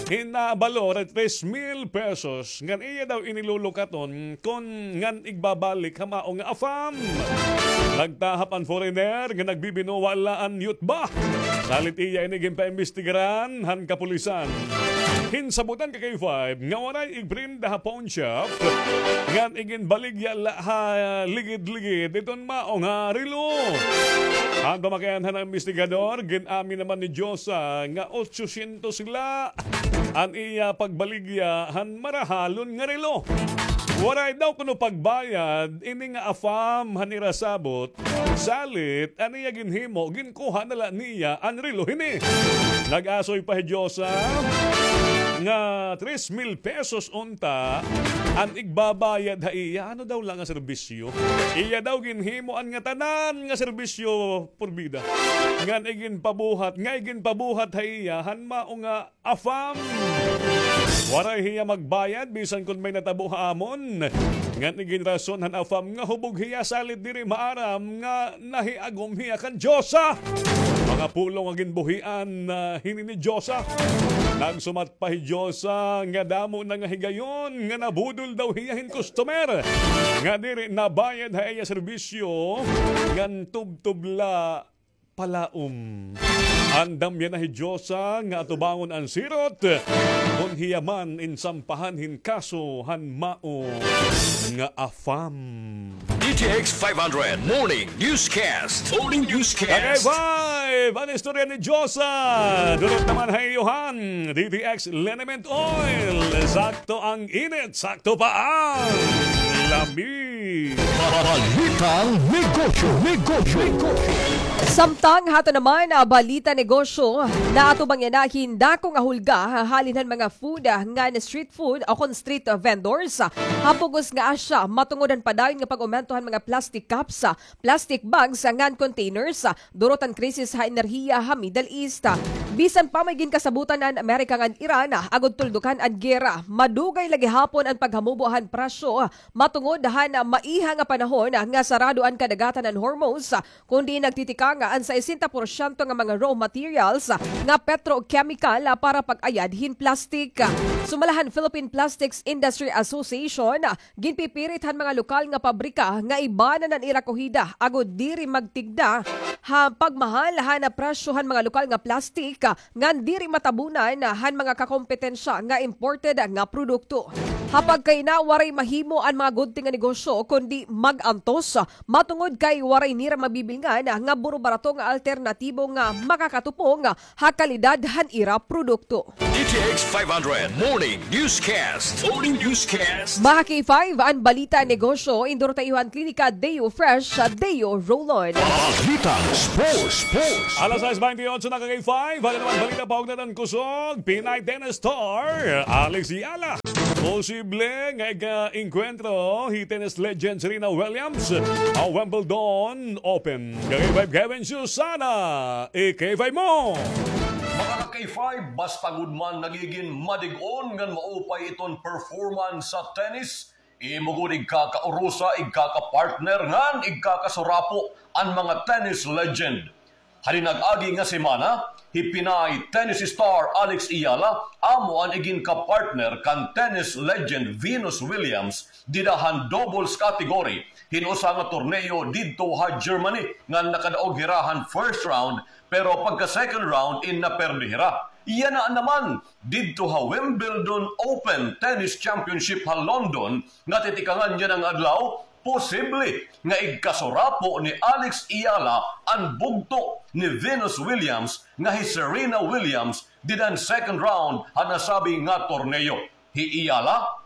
hin nabalor tres mil pesos ngan iya daw ini lulukaton kon ngan igbabalik ha mao nga AFAM. Nagtahap an foreigner nga nagbibinuwa la an youth ba. Salit iya ini ginpaimbestigaran han kapulisan. Hinsabutan ka K five nga waray igprenda ha pawn shop ngan iginbaligya la ha ligid-ligid iton mao nga relo. Han pamakian han investigador, gin-amin naman ni Diosa nga otsosyentos la an iya pagbaligya han marahalon nga relo. Waray daw kuno pagbayad ini nga AFAM han ira sabot, salit an iya ginhimo, ginkuha na la niya an relo hini. Nag-asoy pa hi Diosa nga tres mil pesos unta an igbabayad ha iya. Ano daw la nga serbisyo? Iya daw ginhimo an ngatanan nga serbisyo purbida. Ngan iginpabuhat, nga iginpabuhat ha iya han mao nga AFAM. Waray hiya magbayad bisan kon may natabo ha amon. Ngan iginrason han AFAM nga hubog hiya, salit diri maaram nga nahiagom hiya kan Diosa. Mga pulong nga ginbuhian, ah, hini ni Diosa. Nagsumat pa hi Diosa nga damo na nga higayon nga nabudol daw hiya hin customer nga diri nabayad ha iya serbisyo ngan tubtob la palaom. Andam yana hi Diosa nga atubangon an sirot kon hiya man in sampahan hin kaso han mao nga AFAM. D T X five hundred Morning Newscast. Morning Newscast. Tagay five, an istorya ni Diosa. Durot naman ha iyohan, D T X Liniment Oil. Sakto ang init, sakto pa ang lamig. Balitang Negosyo, Negosyo, Negosyo. Samtang hato naman, ah, balita negosyo, naatubang yana hin dako nga hulga halin han mga food, ah, ngan street food o kon street, ah, vendors, ah, ha bug-os nga Asia, matungod han padayon nga pag-umento han mga plastic cups, ah, plastic bags, ah, ngan containers, ah, durot han krisis ha enerhiya ha Middle East. Bisan pa may ginkasabutan an Amerika ngan Iran, ah, agod tuldukan an gera, madugay la gihapon an paghamubo han presyo, ah, matungod han, ah, maiha nga panahon, ah, nga sarado an kadagatan han Hormuz, ah, kundi nagtitikang an sesenta porsyento nga mga raw materials, ah, nga petrochemical, ah, para pag-ayad hin plastic. Sumala han Philippine Plastics Industry Association, ah, ginpipirit han mga lokal nga pabrika nga ibanan an ira kuhida agod diri magtigda ha pagmahal han presyo han mga lokal nga plastik, ah, ngan diri matabunan han mga kakompetensya nga imported nga produkto. Ha pagkaina, waray mahimo an mga gudti nga negosyo kundi mag-antos, matungod kay waray nira mabibilngan nga buro-barato nga alternatibo nga makakatupong ha kalidad han ira produkto. D T X five hundred Morning Newscast. Morning Newscast. Mga K five, an balita negosyo, indurot ha iyo han Klinika Deo Fresh, Deo Roll-On. Balitang sports, sports. Alas sais baynte otso na, ka K five. Ano naman balita paugna han kusog? Pinay tennis star Alex Eala posible nga ig-, ah, engkwentro hi tennis legend Serena Williams ha Wimbledon Open. Ka K five, Kevin Susana, i-K five mo. Mga ka K five, basta gud man nagigin madig-on ngan maupay iton performance sa tennis, imo gud igkakaurusa, igkakapartner, ngan igkakasurapo an mga tennis legend. Ha dinag-agi nga semana, hi Pinay tennis star Alex Eala amo an iginkapartner kan tennis legend Venus Williams dida han doubles category hin usa nga torneo didto ha Germany, ngan nakadaog hira han first round, pero pagka second round in naperde hira. Yana naman, didto ha Wimbledon Open Tennis Championship ha London, nga titikangan yana nga adlaw, posible nga igkasurapo ni Alex Eala an bugto ni Venus Williams nga hi Serena Williams dida han second round han nasabi nga torneo. Hi Eala,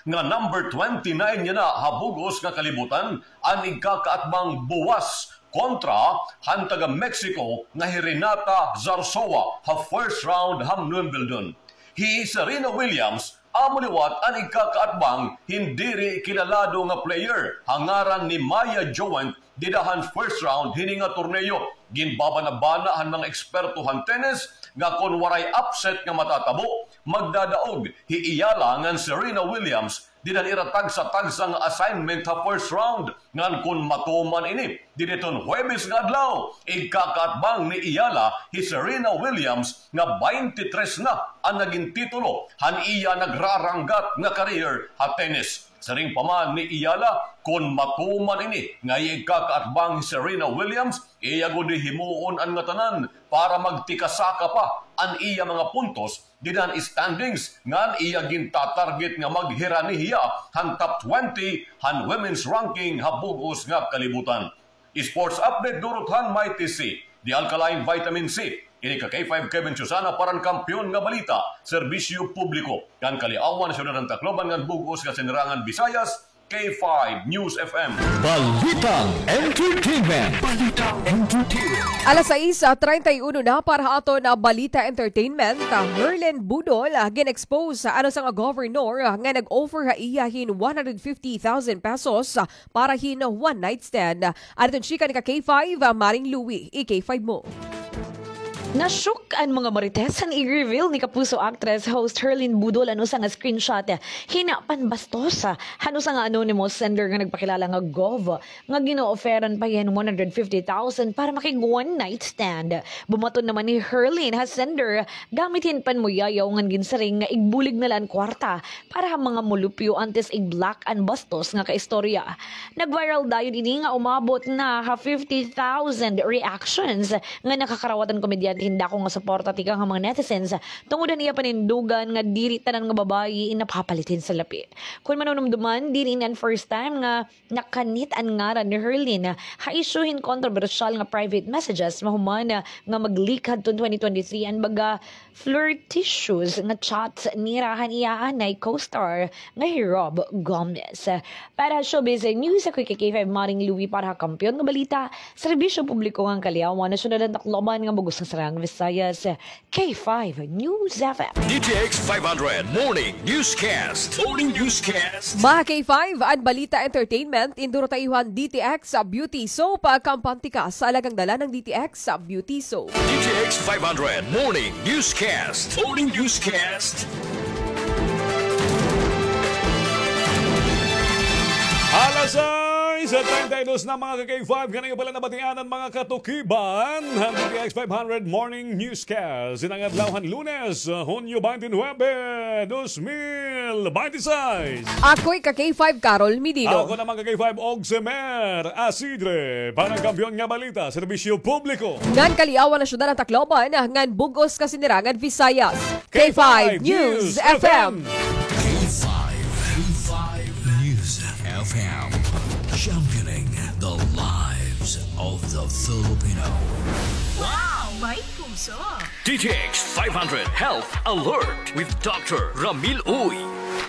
nga number twenty-nine yana ha bug-os nga kalibutan, an igkakaatbang buwas kontra han taga-Mexico nga hi Renata Zarzowa ha first round han Wimbledon. Hi Serena Williams amo liwat an igkakaatbang hin diri kilalado nga player ha ngaran ni Maya Joent dida han first round hini nga torneo. Ginbabanabana han mga eksperto han tennis nga kon waray upset nga matatabo, magdadaog hi Eala ngan Serena Williams dida han ira tagsa-tagsa nga assignment ha first round, ngan kon matuman ini, dida hiton Huwebes nga adlaw, igkakaatbang ni Eala hi Serena Williams nga baynte tres na an nagin titulo han iya nagraranggat nga career ha tennis. Siring pa man ni Eala, kon matuman ini nga iya igkakaatbang hi Serena Williams, iya gud hihimuon an ngatanan para magtikasaka pa an iya mga puntos dida han standings, ngan iya gintatarget nga maghirani hiya han top twenty han women's ranking ha bug-os nga kalibutan. Sports update durot han Mighty C, the alkaline vitamin C. Ini ka K five Kevin Susana para han Kampiyon nga Balita, Serbisyo Publiko, kan Kaliawan, Syudad han Tacloban ngan bug-os nga Sinirangan Visayas, K five News F M. Balitang Entertainment. Balitang Entertainment. Alas sais, ah, treinta y uno na para ha aton, ah, Balita Entertainment. Ah, Herlin Budol, ah, gin-expose, ah, an usa nga governor, ah, nga nag-offer ha iya hin one hundred fifty thousand pesos, ah, para hin one night stand. Adton chika ni ka K five, ah, Maring Louie, i-K five mo. Na-shock an mga Marites han i-reveal ni kapuso actress host Herlin Budol an usa nga screenshot hin panbastos han usa nga anonymous sender nga nagpakilala nga gov nga gin-o-offeran pa hiya hin one hundred fifty thousand para makig one night stand. Bumaton naman hi Herlin ha sender gamit hin panmuyayaw ngan ginsiring nga igbulig na la an kwarta para ha mga mulupyo antes ig-block an bastos nga kaistorya. Nag-viral dayon ini nga umabot na ha fifty thousand reactions nga nakakarawat an komedyante Dako nga suporta tikang ha mga netizens tungod han iya panindugan nga diri tanan nga babayi in napapalit hin salapi. Kon manunumduman, diri ini an first time nga nakanit an ngaran ni Herlin ha isyu hin kontrobersyal nga private messages mahuman nga mag-leak hadton twenty twenty-three an baga flirtatious nga chats nira han iya anay co-star nga hi Rob Gomez. Para ha showbiz news, ako hi K five Maring Louie para ha Kampiyon nga Balita, Serbisyo Publiko ngan Kaliawan, Nasyonal ngan Tacloban nga bug-os nga Saraang Visayas, K five News F M. D T X five hundred Morning Newscast. Morning Newscast. Mga K five, an balita entertainment, in duro ta iyo han D T X Beauty Soap, kampante ka sa alagang dala ng D T X Beauty Soap. D T X five hundred Morning Newscast. Morning Newscast. Alas sais treinta y dos na, mga ka-K five, kaniyo pala nabatian an mga katukiban han D T X five hundred Morning Newscast. Inang adlaw han Lunes, Hunyo twenty-nine, dos mil bente seis. Ako'y ka-K five, Carol Medino. Ako naman ka-K five, Ogsemer Asidre. Para Kampiyon nga Balita, Serbisyo Publiko ngan Kaliawan, Nasyonal ngan Tacloban, ngan bug-os nga Saraang Visayas, K five News F M. K five, K five News F M, championing the lives of the Filipino. Wow! May puso! D T X five hundred Health Alert with Doctor Ramil Uy.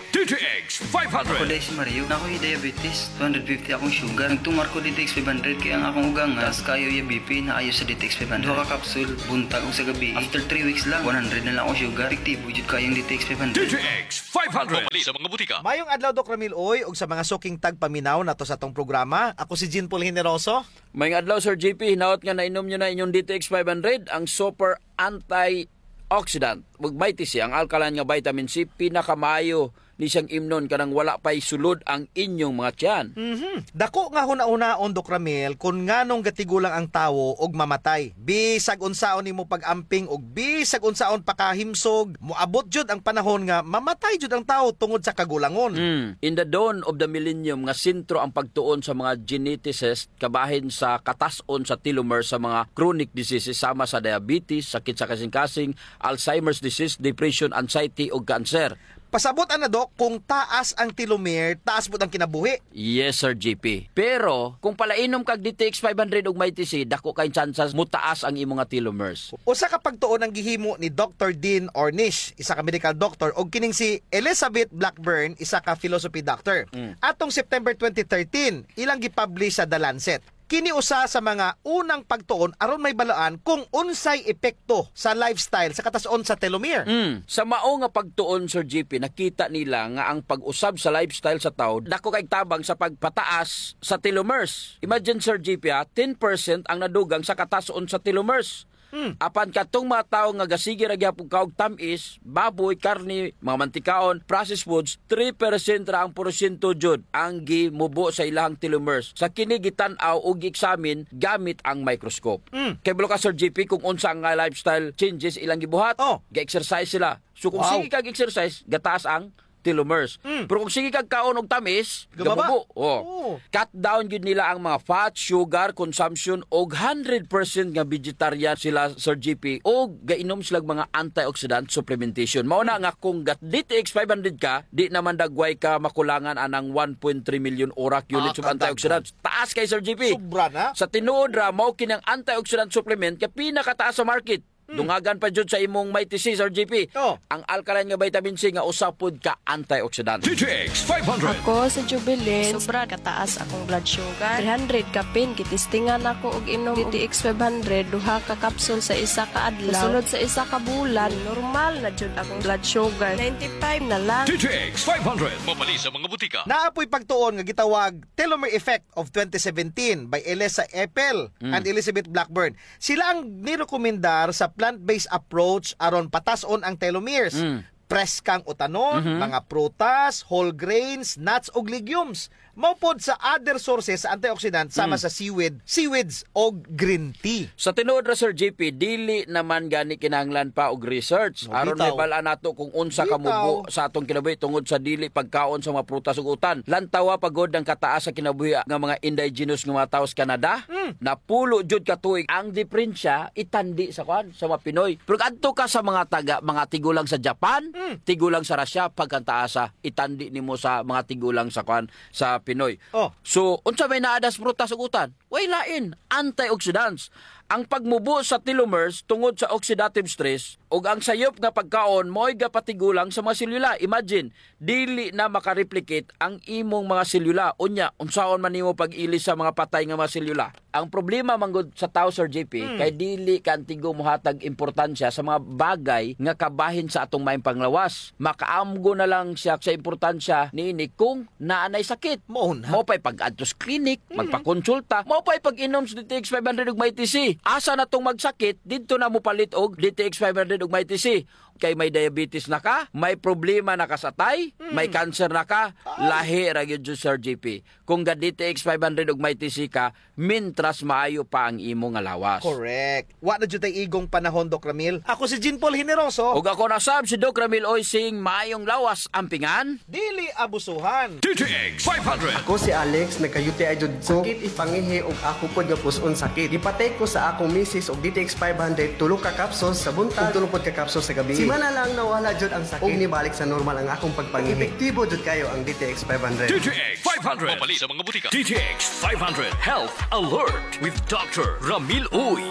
D T X five hundred. Ako day si Mario. Nakoy diabetes, two hundred fifty akong sugar. Nagtumar ko D T X five hundred kay ang akong ugang nga taas kaayo iya B P, naayo sa D T X five hundred. Duha ka kapsul, buntag ug sa gabii. After three weeks lang, one hundred na lang akong sugar. Epektibo jud kaayo ang D T X five hundred. D T X five hundred. Mapalit sa mga butika. Mayong adlaw, Doc Ramil Uy, ug sa mga suking tagpaminaw nato sa atong programa. Ako si Jean Paul Generoso. Mayong adlaw, Sir J P. Hinaot nga nainom niyo na inyong D T X five hundred, ang super antioxidant. Ug Mighty C, ang alkaline nga vitamin C, pinakamaayo ni siyang imnon kanang wala pa'y sulod ang inyong mga tiyan. Mhm. Dako nga hunahunaon, Doc Ramil, kon nganong gatigulang ang tawo og mamatay. Bisag unsaon nimo pag-amping ug bisag unsaon pakahimsog, moabot jud ang panahon nga mamatay jud ang tawo tungod sa kagulangon. Mm. In the dawn of the millennium nga sentro ang pagtuon sa mga geneticist kabahin sa katas-on sa telomere sa mga chronic diseases sama sa diabetes, sakit sa kasingkasing, Alzheimer's disease, depression, anxiety, ug cancer. Pasabot ana, Doc, kung taas ang telomere, taas pud ang kinabuhi. Yes, Sir J P. Pero kung palainom kag D T X five hundred ug Mighty C, dako kay tsansas mutaas ang imo nga telomeres. Usa ka pagtuon ang gihimo ni Doctor Dean Ornish, isa ka medical doctor, ug kining si Elizabeth Blackburn, isa ka philosophy doctor. Mm. Atong September twenty thirteen, ilang gipublish sa The Lancet. Kini usa sa mga unang pagtuon aron mahibaluan kung unsay epekto sa lifestyle sa katas-on sa telomere. Mm. Sa mao nga pagtuon, Sir J P, nakita nila nga ang pag-usab sa lifestyle sa tawo dako kay tabang sa pagpataas sa telomeres. Imagine, Sir J P, ha, ten percent ang nadugang sa katas-on sa telomeres. Hmm. Apan kadtong mga tawo nga gasige ra gihapon kaon og tam-is, baboy, karne, mga mantikaon, processed foods, three percent ra ang porsyento jud ang gimubo sa ilahang telomeres sa kini gitan-aw o gi-examine gamit ang microscope. Hmm. Kay kabalo ka, Sir J P, kung unsa nga lifestyle changes ilang gibuhat, oh, ga-exercise sila. So kung, wow, sige kag exercise, gataas ang telomeres. Mm. Pero kung sige kag kaon og tamis, gababa. Gababo. Oh. Oh. Cut down gyud nila ang mga fat, sugar consumption, og hundred percent nga vegetarian sila, Sir J P, og gainom sila mga antioxidant supplementation. Mao na nga kung ga-, D T X five hundred ka, di naman dagway ka makulangan anang one point three million orak units of antioxidants. Ah, kadaghan. Taas kay, Sir J P. Sobra na. Sa tinuod ra, mao kini ang antioxidant supplement nga pinakataas sa market. Hmm. Dungagan pa jud sa imong Mighty C, Sir J P. Oh. Ang alkaline nga vitamin C nga usa pod ka antioxidant. D T X five hundred. Ako si Jubilin. Sobra kataas akong blood sugar. Three hundred kapin, gitistingan ako og inom D T X five hundred, duha ka kapsul sa isa ka adlaw. Sa sunod sa isa ka bulan, normal na jud akong blood sugar. Ninety-five na lang. D T X five hundred. Mapalit sa mga butika. Naa po'y pagtuon nga gitawag telomere effect of twenty seventeen by Elisa Epel, mm, and Elizabeth Blackburn. Sila ang nirekomendar sa plant-based approach aron patas-on ang telomeres. Mm. preskang utanon, Mhm. mga prutas, whole grains, nuts, ug legumes. Mao pod sa other sources sa antioxidant sama Mhm. sa seaweed, seaweeds, og green tea. Sa tinuod ra, Sir J P, dili naman gani kinahanglan pa og research. Oh, aron bitaw. Mabal-an nato kung unsa Bitaw. kamubo sa atong kinabuhi tungod sa dili pagkaon sa mga prutas ug utan. Lantawa pa gud ang kataas sa kinabuhi nga mga indigenous nga mga tawo sa Canada. Mm. Napulo jud ka tuig ang diperensya itandi sa kuan, sa mga Pinoy. Pero adto ka sa mga taga, mga tigulang sa Japan, Mm. tigulang sa Russia, pagkantaasa, itandi nimo sa mga tigulang sa kuan, sa Pinoy. Oh. So, unsa may naa das prutas ug utan? Way lain, antioxidants. Ang pagmubo sa telomeres tungod sa oxidative stress ug ang sayop nga pagkaon mao'y gapatigulang sa mga selula. Imagine, dili na makareplicate ang imong mga selula. Unya, unsaon man nimo pag-ilis sa mga patay nga mga selula? Ang problema man gud sa tawo, Sir J P, Mm. kay dili ka antigo mohatag importansya sa mga bagay nga kabahin sa atong maayong panglawas. Makaamgo na lang siya sa importansya niini kung naa nay sakit. Mao na. Mao pa'y pag-adto sa clinic, Mm. magpakonsulta. Mao pa'y pag-inom sa D T X five hundred ug Mighty C. Asa na tong magsakit, didto na mopalit og D T X five hundred ug Mighty C. Kay may diabetes na ka, may problema na ka sa atay, Mm. may cancer na ka, Ay. lahi ra gyud, Sir J P. Kung ga-D T X five hundred ug Mighty C ka, mintras maayo pa ang imo nga lawas. Correct. Wa na jud tay igong panahon, Doc Ramil. Ako si Jean Paul Generoso. Ug ako na sab si Doc Ramil Oy, sing maayong lawas, ampingan. Dili abusuhan. D T X five hundred. Ako si Alex, nagka-U T I jud ko. Sakit ipangihi ug ako pod nga pus-on sakit. Gipatake ko sa akong misis og D T X five hundred, tulo ka capsules sa buntag, ug tulo pod ka capsules sa gabii. Simana lang nawala jud ang sakit. Ug nibalik sa normal ang akong pagpangihi. Epektibo jud kayo ang D T X five hundred. D T X five hundred. Mapalit sa mga butika. D T X five hundred Health Alert with Doctor Ramil Uy.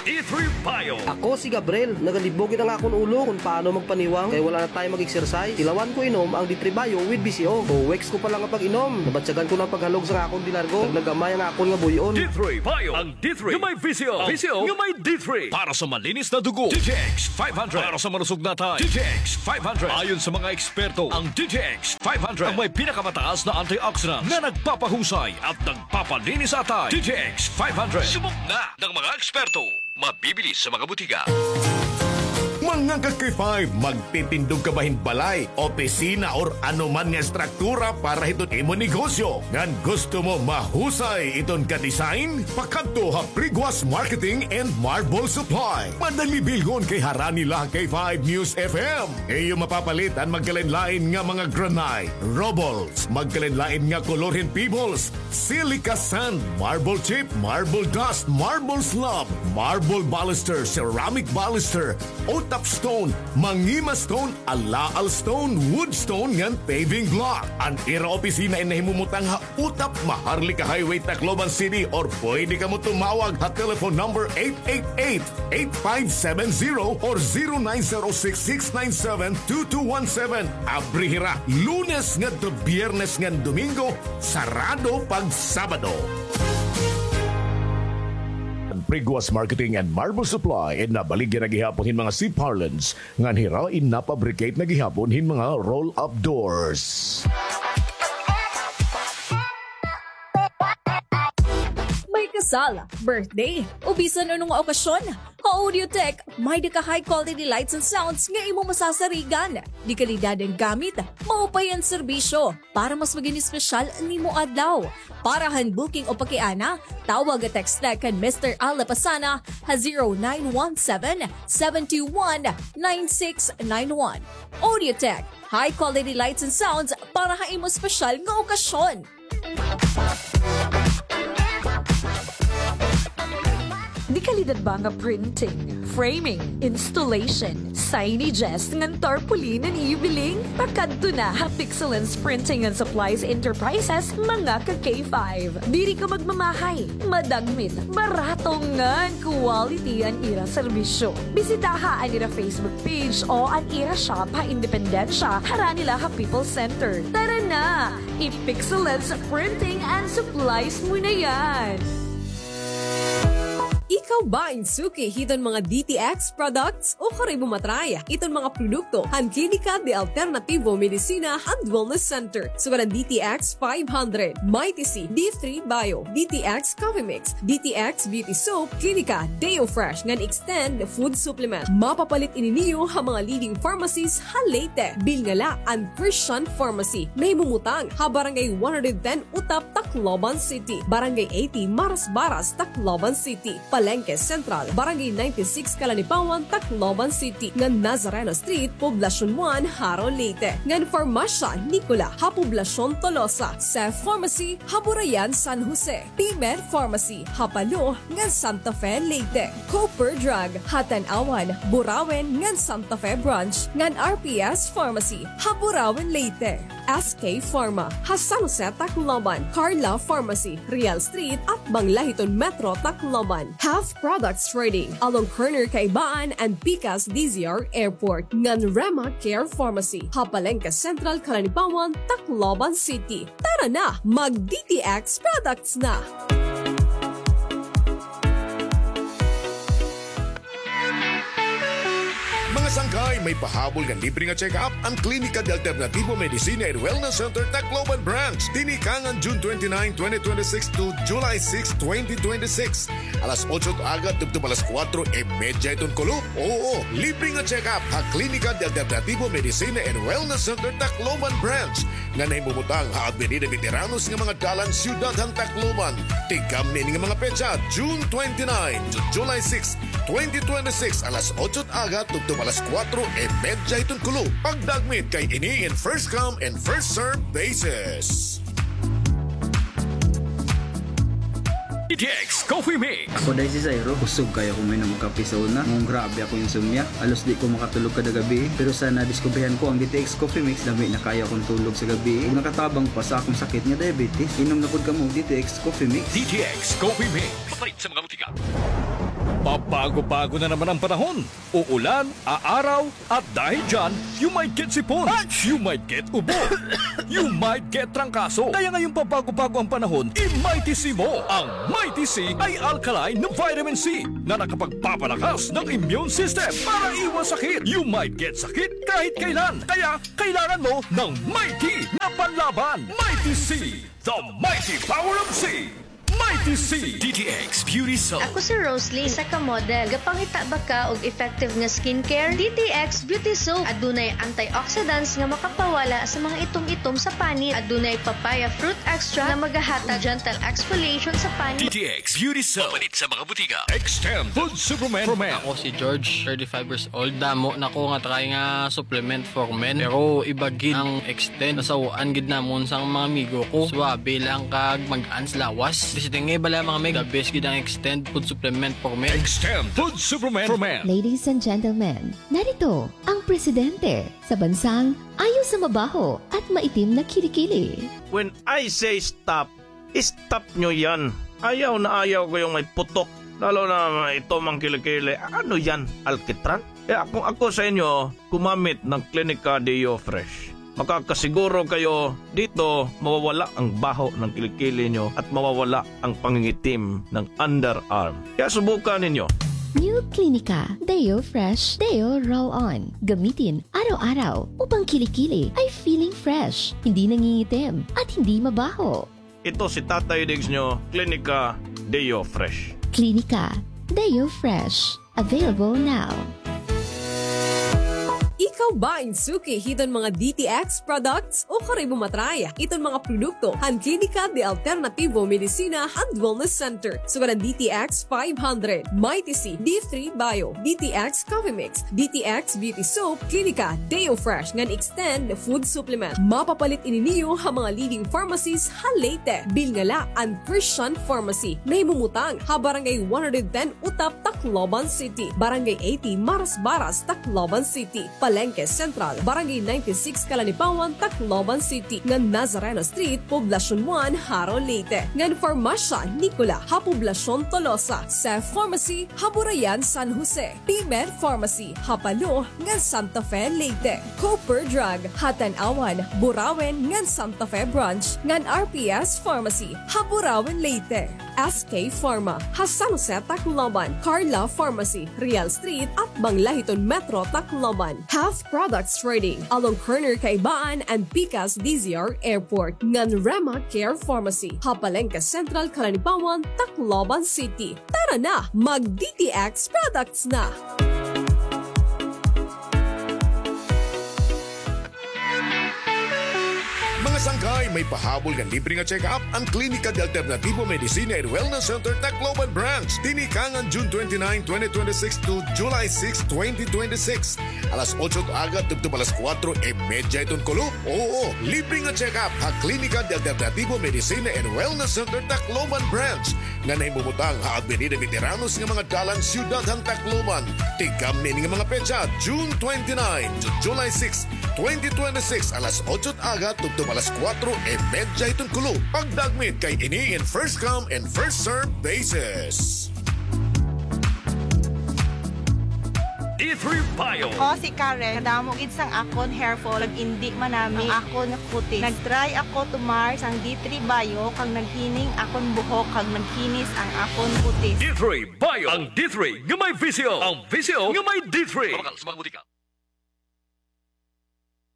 D three Bio. Ako si Gabriel. Nagalibog gid ang akon ulo kung paano magpaniwang kay wala na tayo mag-exercise. Tilawan ko inom ang D three Bio with V C O. Two weeks ko pa lang nga pag-inom, nabatyagan ko na ang paghalog sa akon dilargo. Nagnagamay ang akon nga buy-on. D three Bio. Ang D three nga may V C O. V C O nga may D three. Para sa malinis na dugo, D T X five hundred. Para sa malusog na atay, D T X five hundred. Ayon sa mga eksperto, ang D T X five hundred ang may pinakamataas na antioxidant na nagpapahusay at nagpapalinis sa atay. D T X five hundred. Subok na ng mga eksperto. Mabibili sa mga butika. Mga ka-K five, magtitindog ka ba hin balay, opisina, or ano man nga estruktura para hiton imo negosyo? Ngan gusto mo mahusay iton ka-design? Pakadto ha Priguas Marketing and Marble Supply. Madali bilhon kay harani la ha K five News F M. Iyo mapapalit an magkalain-lain nga mga granite, rubbles, magkalain-lain nga kolor hin pebbles, silica sand, marble chip, marble dust, marble slab, marble baluster, ceramic baluster, O-top stone, mangima stone, alaal stone, wood stone, ngan paving block. An ira opisina in nahimumutang ha Utap, Maharlika Highway, Tacloban City, or pwede kamo tumawag ha telephone number eight eight eight, eight five seven zero or zero nine zero six, six nine seven, two two one seven. Abri hira Lunes ngadto Biyernes ngan Domingo, sarado pag Sabado. An Priguas Marketing and Marble Supply in nabaligya na gihapon hin mga C-parlance ngan hira in napabricate na gihapon hin mga roll-up doors. May kasal, birthday, o bisan ano nga okasyon, ha Audiotech, may-da ka high quality lights and sounds nga imo masasarigan. De-kalidad an gamit, maupay an serbisyo. Para mas maging espesyal an imo adlaw. Para han booking o pakiana, tawag o text la kan Mister Al Lapasana ha zero nine one seven, seven two one, nine six nine one. Audiotech, high quality lights and sounds para ha imo espesyal nga okasyon. De-kalidad ba nga printing, framing, installation, signages, ngan tarpaulin an iyo biling? Pakadto na ha Pixelens Printing and Supplies Enterprises, mga ka-K five. Diri ka magmamahay, madagmit, barato ngan quality an ira serbisyo. Bisitaha an ira Facebook page o an ira shop ha Independencia, harani la ha People's Center. Tara na! I-Pixelens Printing and Supplies mo na yan! Ikaw ba in suki hiton mga D T X products? Ukon imo matry iton mga produkto han Klinika de Alternativo Medicina and Wellness Center. Sugad an D T X five hundred, Mighty C, D three Bio, D T X Coffee Mix, D T X Beauty Soap, Klinika Deo Fresh ngan Extend Food Supplement. Mapapalit ini niyo ha mga leading pharmacies ha Leyte. Bilngala an Christian Pharmacy. Nahimumutang ha Barangay one hundred ten Utap, Tacloban City, Barangay eighty Marasbaras, Tacloban City, Palengke Central, Barangay ninety-six Calanipawan, Tacloban City, ngan Nazareno Street, Poblacion one, Jaro, Leyte, ngan Farmacia Nicola ha Poblacion Tolosa, Seth Pharmacy ha Burayan, San Jose, P-Med Pharmacy ha Palo ngan Santa Fe, Leyte, Cooper Drug ha Tanauan, Burauen ngan Santa Fe Branch, ngan R P S Pharmacy ha Burauen, Leyte. S K Pharma ha San Jose, Tacloban, Carla Pharmacy, Real Street, atbang la hiton Metro Tacloban. Health Products Trading, along corner Kaibaan and Pikas D Z R Airport, ngan Rema Care Pharmacy ha Palengke Central, Calanipawan, Tacloban City. Tara na, mag D T X products na! Mga sangkay, may pahabol nga libre nga check-up an Klinika de Alternativo Medicina and Wellness Center Tacloban Branch. Tinikang an June twenty-nine, twenty twenty-six to July six, twenty twenty-six. Alas otso it aga tubtob alas kuwatro y medya hiton kulop. Oo, libre nga check-up ha Klinika de Alternativo Medicina and Wellness Center Tacloban Branch. nga nahimumutang ha Avenida Veteranos nga mga dalan, siyudad han Tacloban. Tigamni ini nga mga petsa, June twenty-nine to July six, twenty twenty-six, alas otso it aga tubtob alas kuwatro y medya hiton kulop. Pagdagmit kay ini in first come and first serve basis. D T X Coffee Mix. Ako day si Zairo. Kusog kaayo ako uminom og kape sa una. Ngunong grabe akong insomnia. Halos di ko makatulog kada gabii. Pero sa nadiskubrihan ko ang D T X Coffee Mix, lami na kaayo akong tulog sa gabii. Ug nakatabang pa sa akong sakit nga diabetes. Inom na pod kamo og D T X Coffee Mix. D T X Coffee Mix. Mapalit sa mga butika. Pabago-bago na naman ang panahon. Uulan, aaraw, at dahil dyan, you might get sipon, you might get ubo, you might get trangkaso. Kaya ngayong pabago-bago ang panahon, i-Mighty C mo. Ang Mighty C ay alkaline na vitamin C na nakapagpapalakas ng immune system para iwas sakit. You might get sakit kahit kailan. Kaya kailangan mo ng Mighty na panlaban. Mighty C, the mighty power of C. Mighty C. D T X Beauty Soap. Ako si Roslyn, isa ka model. Gapangita ba ka og effective nga skincare? D T X Beauty Soap. Adunay antioxidants nga makapawala sa mga itom-itom sa panit. Adunay papaya fruit extract nga magahatag gentle exfoliation sa panit. D T X Beauty Soap. Mapalit sa mga butika. Extend Food Supplement for Men. Ako si George, thirty-five years old. Damo na ko nga try nga supplement for men. Pero iba gid ang Extend. Nasaw-an gid namon sa mga amigo ko. Suabe lang kag magaan sa lawas. Basta nga bala, mga mig, the best gid ang Extend Food Supplement for Men. Extend Food Supplement for Men. Ladies and gentlemen, narito ang presidente sa bansang ayaw sa mabaho at maitim na kilikili. When I say stop, stop nyo yan. Ayaw na ayaw ko yung may putok. Lalo na ito, mga kilikili. Ano yan? Alkitran? Kaya kung ako sa inyo, gumamit ng Klinika Deo Fresh. Makakasiguro kayo dito, mawawala ang baho ng kilikili nyo at mawawala ang pangingitim ng underarm. Kaya subukan ninyo. New Klinika Deo Fresh Deo Roll-On. Gamitin araw-araw upang kilikili ay feeling fresh, hindi nangingitim, at hindi mabaho. Ito si Tatay Diggs nyo, Klinika Deo Fresh. Klinika Deo Fresh. Available now. Ikaw ba in suki hiton mga D T X products? Ukon imo matry iton mga produkto han Klinika de Alternativo Medicina and Wellness Center. Sugad an D T X five hundred, Mighty C, D three Bio, D T X Coffee Mix, D T X Beauty Soap, Klinika Deo Fresh, ngan Extend Food Supplement. Mapapalit ini niyo ha mga leading pharmacies ha Leyte. Bilngala an Christian Pharmacy. Nahimumutang ha Barangay one hundred ten Utap, Tacloban City, Barangay eighty Marasbaras, Tacloban City, Pal- Palengke Central, Barangay ninety-six, Calanipawan, Tacloban City, ngan Nazareno Street, Poblacion one, Jaro, Leyte, ngan Farmacia Nicola ha Poblacion Tolosa, Seth Pharmacy ha Burayan, San Jose, P-Med Pharmacy ha Palo ngan Santa Fe, Leyte, Cooper Drug ha Tanauan, Burauen ngan Santa Fe Branch, ngan R P S Pharmacy ha Burauen, Leyte, S K Pharma ha San Jose, Tacloban, Carla Pharmacy, Real Street, atbang la hiton Metro Tacloban, Health Products Trading along corner Kaibaan and Pikas D Z R Airport, ngan Rema Care Pharmacy ha Palengke Central, Calanipawan, Tacloban City. Tara na, mag D T X products na! Mga sangkay, may pahabol nga libre nga check-up an Klinika de Alternativo Medicina and Wellness Center Tacloban Branch. Tinikangan June twenty-nine, twenty twenty-six to July six, twenty twenty-six. Alas otso hit aga tubtob alas kuwatro y medya hiton kulop. Oo, libre nga check-up ha Klinika de Alternativo Medicina and Wellness Center Tacloban Branch nga nahimumutang ha Avenida Veteranos nga mga dalan, siyudad han Tacloban. Tigamni ini nga mga petsa, June twenty-nine to July six, twenty twenty-six, alas otso hit aga tubtob alas kuwatro y medya hiton kulop. Pagdagmit kay ini in first come and first serve basis. D three Bio. Ako si Karen. Kadamo gid sang akon hair fall, nag-indi manami ang akon kutis. Nag-try ako tumar sang D three Bio, kag naghining akon buhok, kag naghinis ang akon kutis. D three Bio. Ang D three nga may visyo. Ang visyo nga may D three. Mabakal sa mga butika.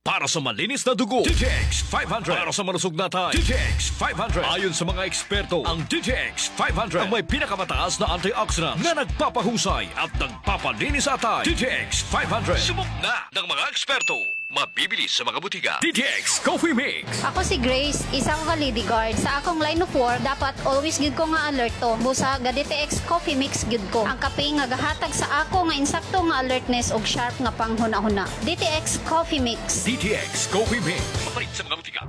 Para sa malinis na dugo, D T X five hundred. Para sa malusog na atay, D T X five hundred. Ayon sa mga eksperto, ang D T X five hundred ang may pinakamataas na antioxidants na nagpapahusay at nagpapalinis sa atay. D T X five hundred. Subok na ng mga eksperto. Mabibili sa mga butika. D T X Coffee Mix. Ako si Grace, isa ko ka Lady Guard. Sa akong line of work, dapat always gid ko nga alerto. Busa ga D T X Coffee Mix gid ko. Ang kape nga gahatag sa ako nga insakto nga alertness ug sharp nga panghunahuna. D T X Coffee Mix. D T X Coffee Mix. Mapalit sa mga butika.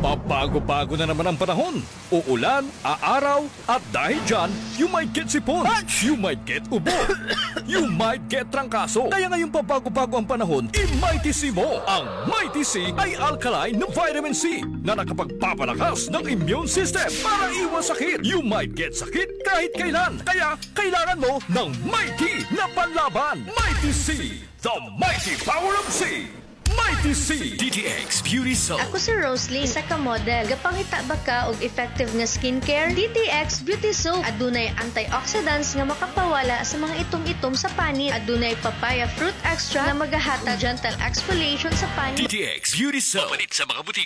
Pabago-bago na naman ang panahon. Uulan, aaraw, at dahil dyan, you might get sipon, you might get ubo, you might get trangkaso. Kaya ngayong pabago-bago ang panahon, i-Mighty C mo. Ang Mighty C ay alkaline na vitamin C na nakapagpapalakas ng immune system para iwas sakit. You might get sakit kahit kailan. Kaya kailangan mo ng Mighty na panlaban. Mighty C, the mighty power of C. Mighty C. D T X Beauty Soap. Ako si Roslyn, isa ka model. Gapangita ba ka og effective nga skincare? D T X Beauty Soap. Adunay antioxidants nga makapawala sa mga itom-itom sa panit. Adunay papaya fruit extract nga magahatag gentle exfoliation sa panit. D T X Beauty Soap. Mapalit sa mga butika.